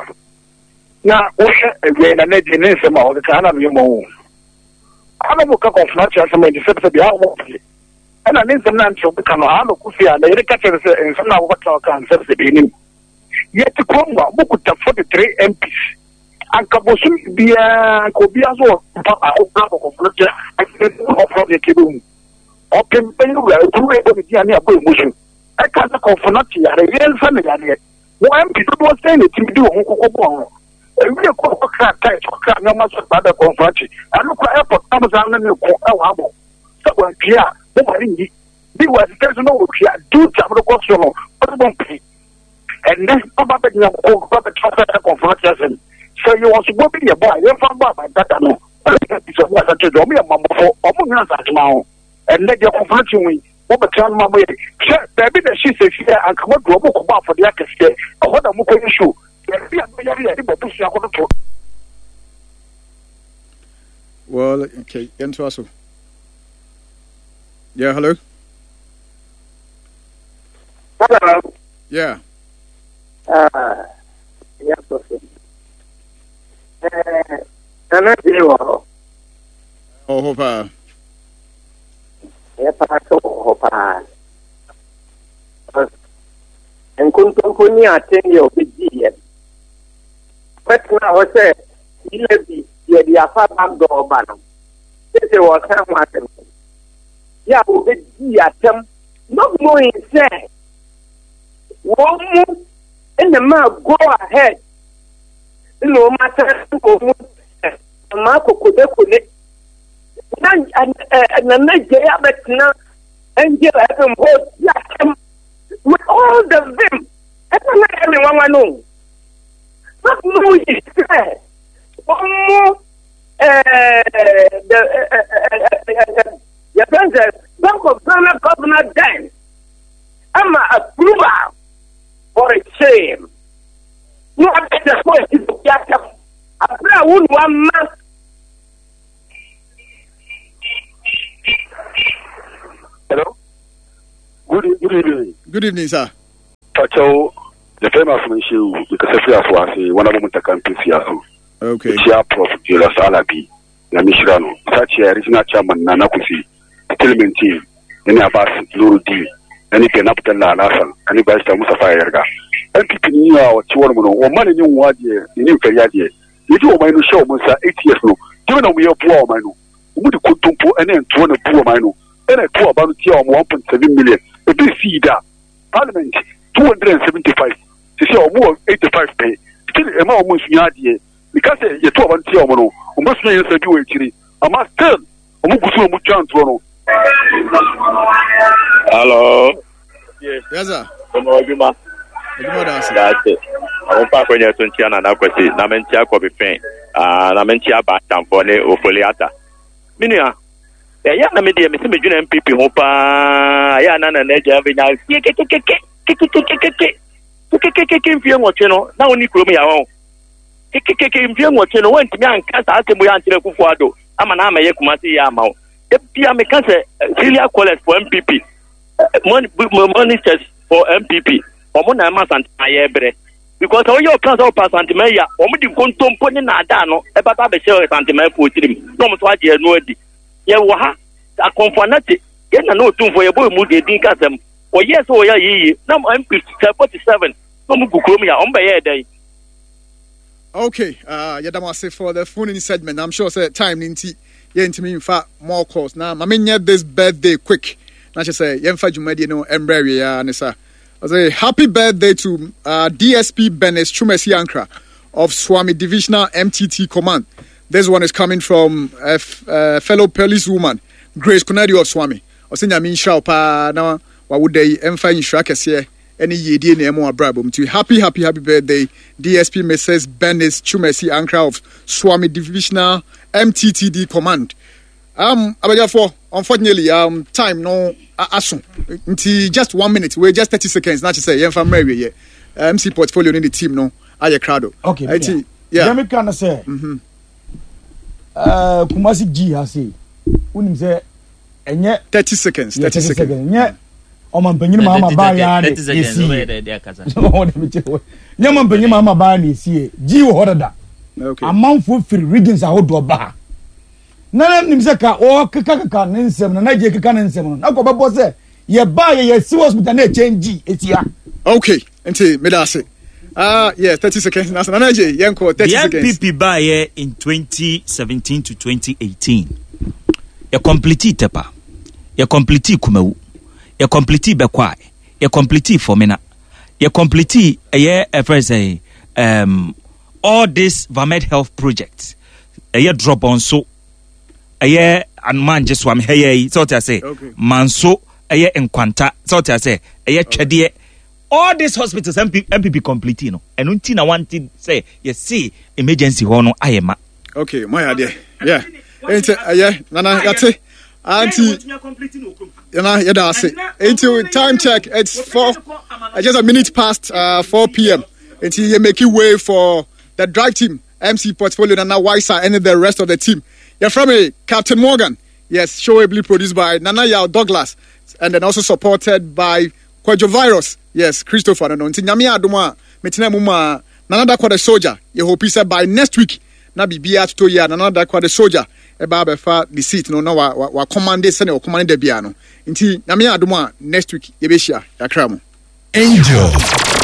Na wohwɛ awia na n'agye ne nsɛm a ɔkeka ana meyɛ mɔ wo. Ana mo ka kɔnfona kyerɛ asɛm a nti sɛ sɛ bia wɔn pɛ. Ɛna ne nsɛm na nkyerɛ ɔbɛka no ano kofi a na yɛde ka kyerɛ no sɛ nsɛm na wɔkɔtena ɔka nsɛm sɛ bɛnim. Yɛte kurom a mokuta 43 MPs. Anka bosom biara anka obiara nso wɔ mpa baako kora kɔkɔfo kyɛ ɔfrɔ deɛ kɛbɛhu. Ɔpem bɛyɛ wura ekuru ɛbɔ ne din a ne abɔ emu so. Ɛka sɛ kɔnfo no te yare yɛnsa ne yareɛ. Wɔn MP dodoɔ sɛn na ɛtumi de wɔn ho kɔkɔ bɔɔ ho. Ewie kɔ kɔkra tight kɔkra nneɛma sɛ ba bɛ kɔnfo akyi. Ɛno kora airport na mo saa ne ne ko ɛwɔ abɔ. Sɛ wɔantwie a mo ma ne nyi. Bi wɔ asitɛ so na wɔtwia duty a mo kɔ so no wɔde bɔ mpii. Ɛnɛ ɔba bɛgyina koko ba bɛtra sɛ ɛkɔnfo akyi asɛm. Sɛ yɛwɔ sobɔ bi yɛ bɔ a yɛmfa bɔ aban dada no. Ɔmo yɛ mmɔbɔfo ɔmo nyina asasema ho. Ɛnɛ deɛ kɔnfo akyi ho yi wɔbɛtena no ma mo yɛ hwɛ baabi na ɛhye sɛ fie a anka moadu ɔmo kɔbɔ afɔdeɛ akɛseɛ ɛhɔ na mokɔyɛ show baabi a moyare yɛde bɔ busua kɔtoto. Well, okay, yɛntoa so. Yeah, hello. Hello. Yeah. Yeah, Prophet. Nana Jay wɔ hɔ. Wɔ hɔ paa. Ɛyɛ paa sɛ wɔ hɔ paa. Nkontompo ne atɛnni a ɔbɛdi yɛ. Bɛtena hɔ sɛ yila bi yɛde afa backdoor ba no. Sese wɔka ho asɛm. Yɛ a wɔbɛdi atɛm not knowing sɛ wɔn mu ɛna maa go ahead ɛna wɔn asan wɔn mu maa kokodekode na nana gye abɛtena angel fm hɔ di atɛm with all the vim ɛna na yɛ me nwanwa no not knowing sɛ wɔn mu yɛfrɛ sɛ Bank of Ghana governor then ama approval for a shame. Na wabɛsɛ kɔ esi obi asɛm abere a wo nua ma. Hello. Good, good evening. Good evening, sir. Pacho, the famous Minshew, because of your force, one of them to campus here. Okay. Chia Prof. Julius Alabi, na mehyira no. Saa kyia regional chairman Nana Kwesi, still maintain, ne Abbas Nuruddin, ne Ben Abdallah Alhassan, ne Barrister Mustapha Ayariga. NPP ni a ɔte hɔ nom no, wɔma n'ani nwu adeɛ, n'ani mfɛre adeɛ. Yɛde ɔman no hyɛ wɔn nsa 8 years no, gyeme na wɔyɛ boa ɔman no. Wɔn de kontompo ne ntoɔ na bu ɔman no, ɛna ɛto aba no tia wɔn 1.7 million. Ebi nsii da. Parliament 275, sisi a wɔn wɔ 85 pɛ. Still ɛma wɔn nsua adeɛ. Meka sɛ yɛto aba no tia wɔn no, wɔn bɛsua yɛn nsa bi wɔ akyiri. Ama still wɔn gu so na wɔn twa ntorɔ no. Hello. Yes, sir. Ọmọ adwuma. Adwuma da ase. Da ase. Àwọn fa akɔnya so nkyia Nana Kwasi na me nkyia Kɔbi Fɛn ah, na me nkyia Baatamfoɔ ne Ofoli Ata. Me nua, ɛyɛ na me deɛ mesi me dwene MPP ho paa, ɛyɛ na Nana agya bɛnya fie kekekeke kekekekeke kekekeke mfie nwɔtwe no na wo ne kurom yɛ wɔn kekekeke mfie nwɔtwe no wɔntumi anka saa asɛm yi ankyerɛ Akufo Addo ama na amɛyɛ Kumasi yɛ ama wo. Da bia meka sɛ serial callers for MPP monitors for MPP wɔn na ɛma Asantema yɛ brɛ because sɛ woyɛ ɔplan sɛ ɔpɛ Asantema yi a wɔn de nkontompo ne naadaa no ɛbɛba abɛhyɛ Asantema afuo tirim na wɔn nso agye ɛno adi. Yɛwɔ ha akɔnfo anate yɛn na na otumfoɔ yɛbɔ emu deɛ din kasɛm wɔyɛ sɛ wɔyɛ yiye na MP 47 na wɔn gu kurom yɛ a wɔn bɛyɛ dɛn. Okay, yɛda mo ase for the phone in segment. I'm sure sɛ time no nti yɛntumi mfa more calls. Na ma menyɛ this birthday quick. Na kyerɛ sɛ yɛmfa dwumadie no mmerɛ awie ara ne sa. Ɔsɛ happy birthday to DSP Benis Chumesi Ankra of Swami Divisional MTT Command. This one is coming from a fellow policewoman, Grace Kunadi of Swami. Ɔsɛ nyame nhyira wo paa na wawoda yi ɛmfa nhyira kɛseɛ ɛne yiedie na ɛmo abrabɔ mu nti happy happy happy birthday DSP Mrs Bernice Chumasi Ankra of Suame Divisional MTTD Command um abadwafoɔ unfortunately um time no aso nti just one minute we just 30 seconds na kyerɛ sɛ yɛmfa mmerɛ awieɛ MC portfolio ne ne team no ayɛ krado okay nti yeah deɛ meka no sɛ mm-hmm. Kumasi G ha sei wonim sɛ ɛnyɛ 30 seconds 30 seconds nyɛ ɔmampanyin maa ma baa yaa de esie nyɛ ɔmampanyin maa ma baa na esie gyi wɔ hɔ dada amanfoɔ firi regions ahodoɔ ba ha na nim sɛ ka ɔkekakeka ne nsɛm na n'agye keka ne nsɛm no na kɔ bɛbɔ sɛ yɛ baa yɛ yɛ si hospital na ɛkyɛn gyi esia. okay nti meda ase ah yeah 30 seconds na nana agye yɛn kɔ 30 seconds. The NPP baayɛ in 2017 to 2018 yɛ complete Tepa yɛ complete Kumawu yɛ complete Bɛkwae yɛ complete Fomena yɛ complete ɛyɛ ɛfrɛ sɛ um, all this Vamed health project ɛyɛ drɔbɔnso ɛyɛ anoma so am hɛyɛ yi sɛ ɔte ase manso ɛyɛ nkwanta sɛ ɔte ase ɛyɛ twɛdeɛ all these hospitals MP, MPP complete no ɛno nti na wante sɛ yɛse emergency hɔ no ayɛ ma. Okay mo ayɛ adeɛ yeah nti ɛyɛ nana yɛte anti nana yɛda ase nti time check it's four just a minute past 4 pm nti yɛ making way for the drive team MC portfolio Nana Waisa and the rest of the team yɛfrɛ me Captain Morgan yes show ably produced by Nana Yao Douglas and then also supported by Kwadwo Virus, yes, Christopher no no, nti Nyame adom a metena mu maa Nana Dakwa the Soldier, yɛ hope sɛ by next week na biribiara totɔ yie a Nana Dakwa the Soldier ɛba abɛfa ne seat no na wa wa wa commande sɛnea ɔcommande da biara no, nti Nyame adom a next week yɛbɛhyia, yɛakra mo. Angel.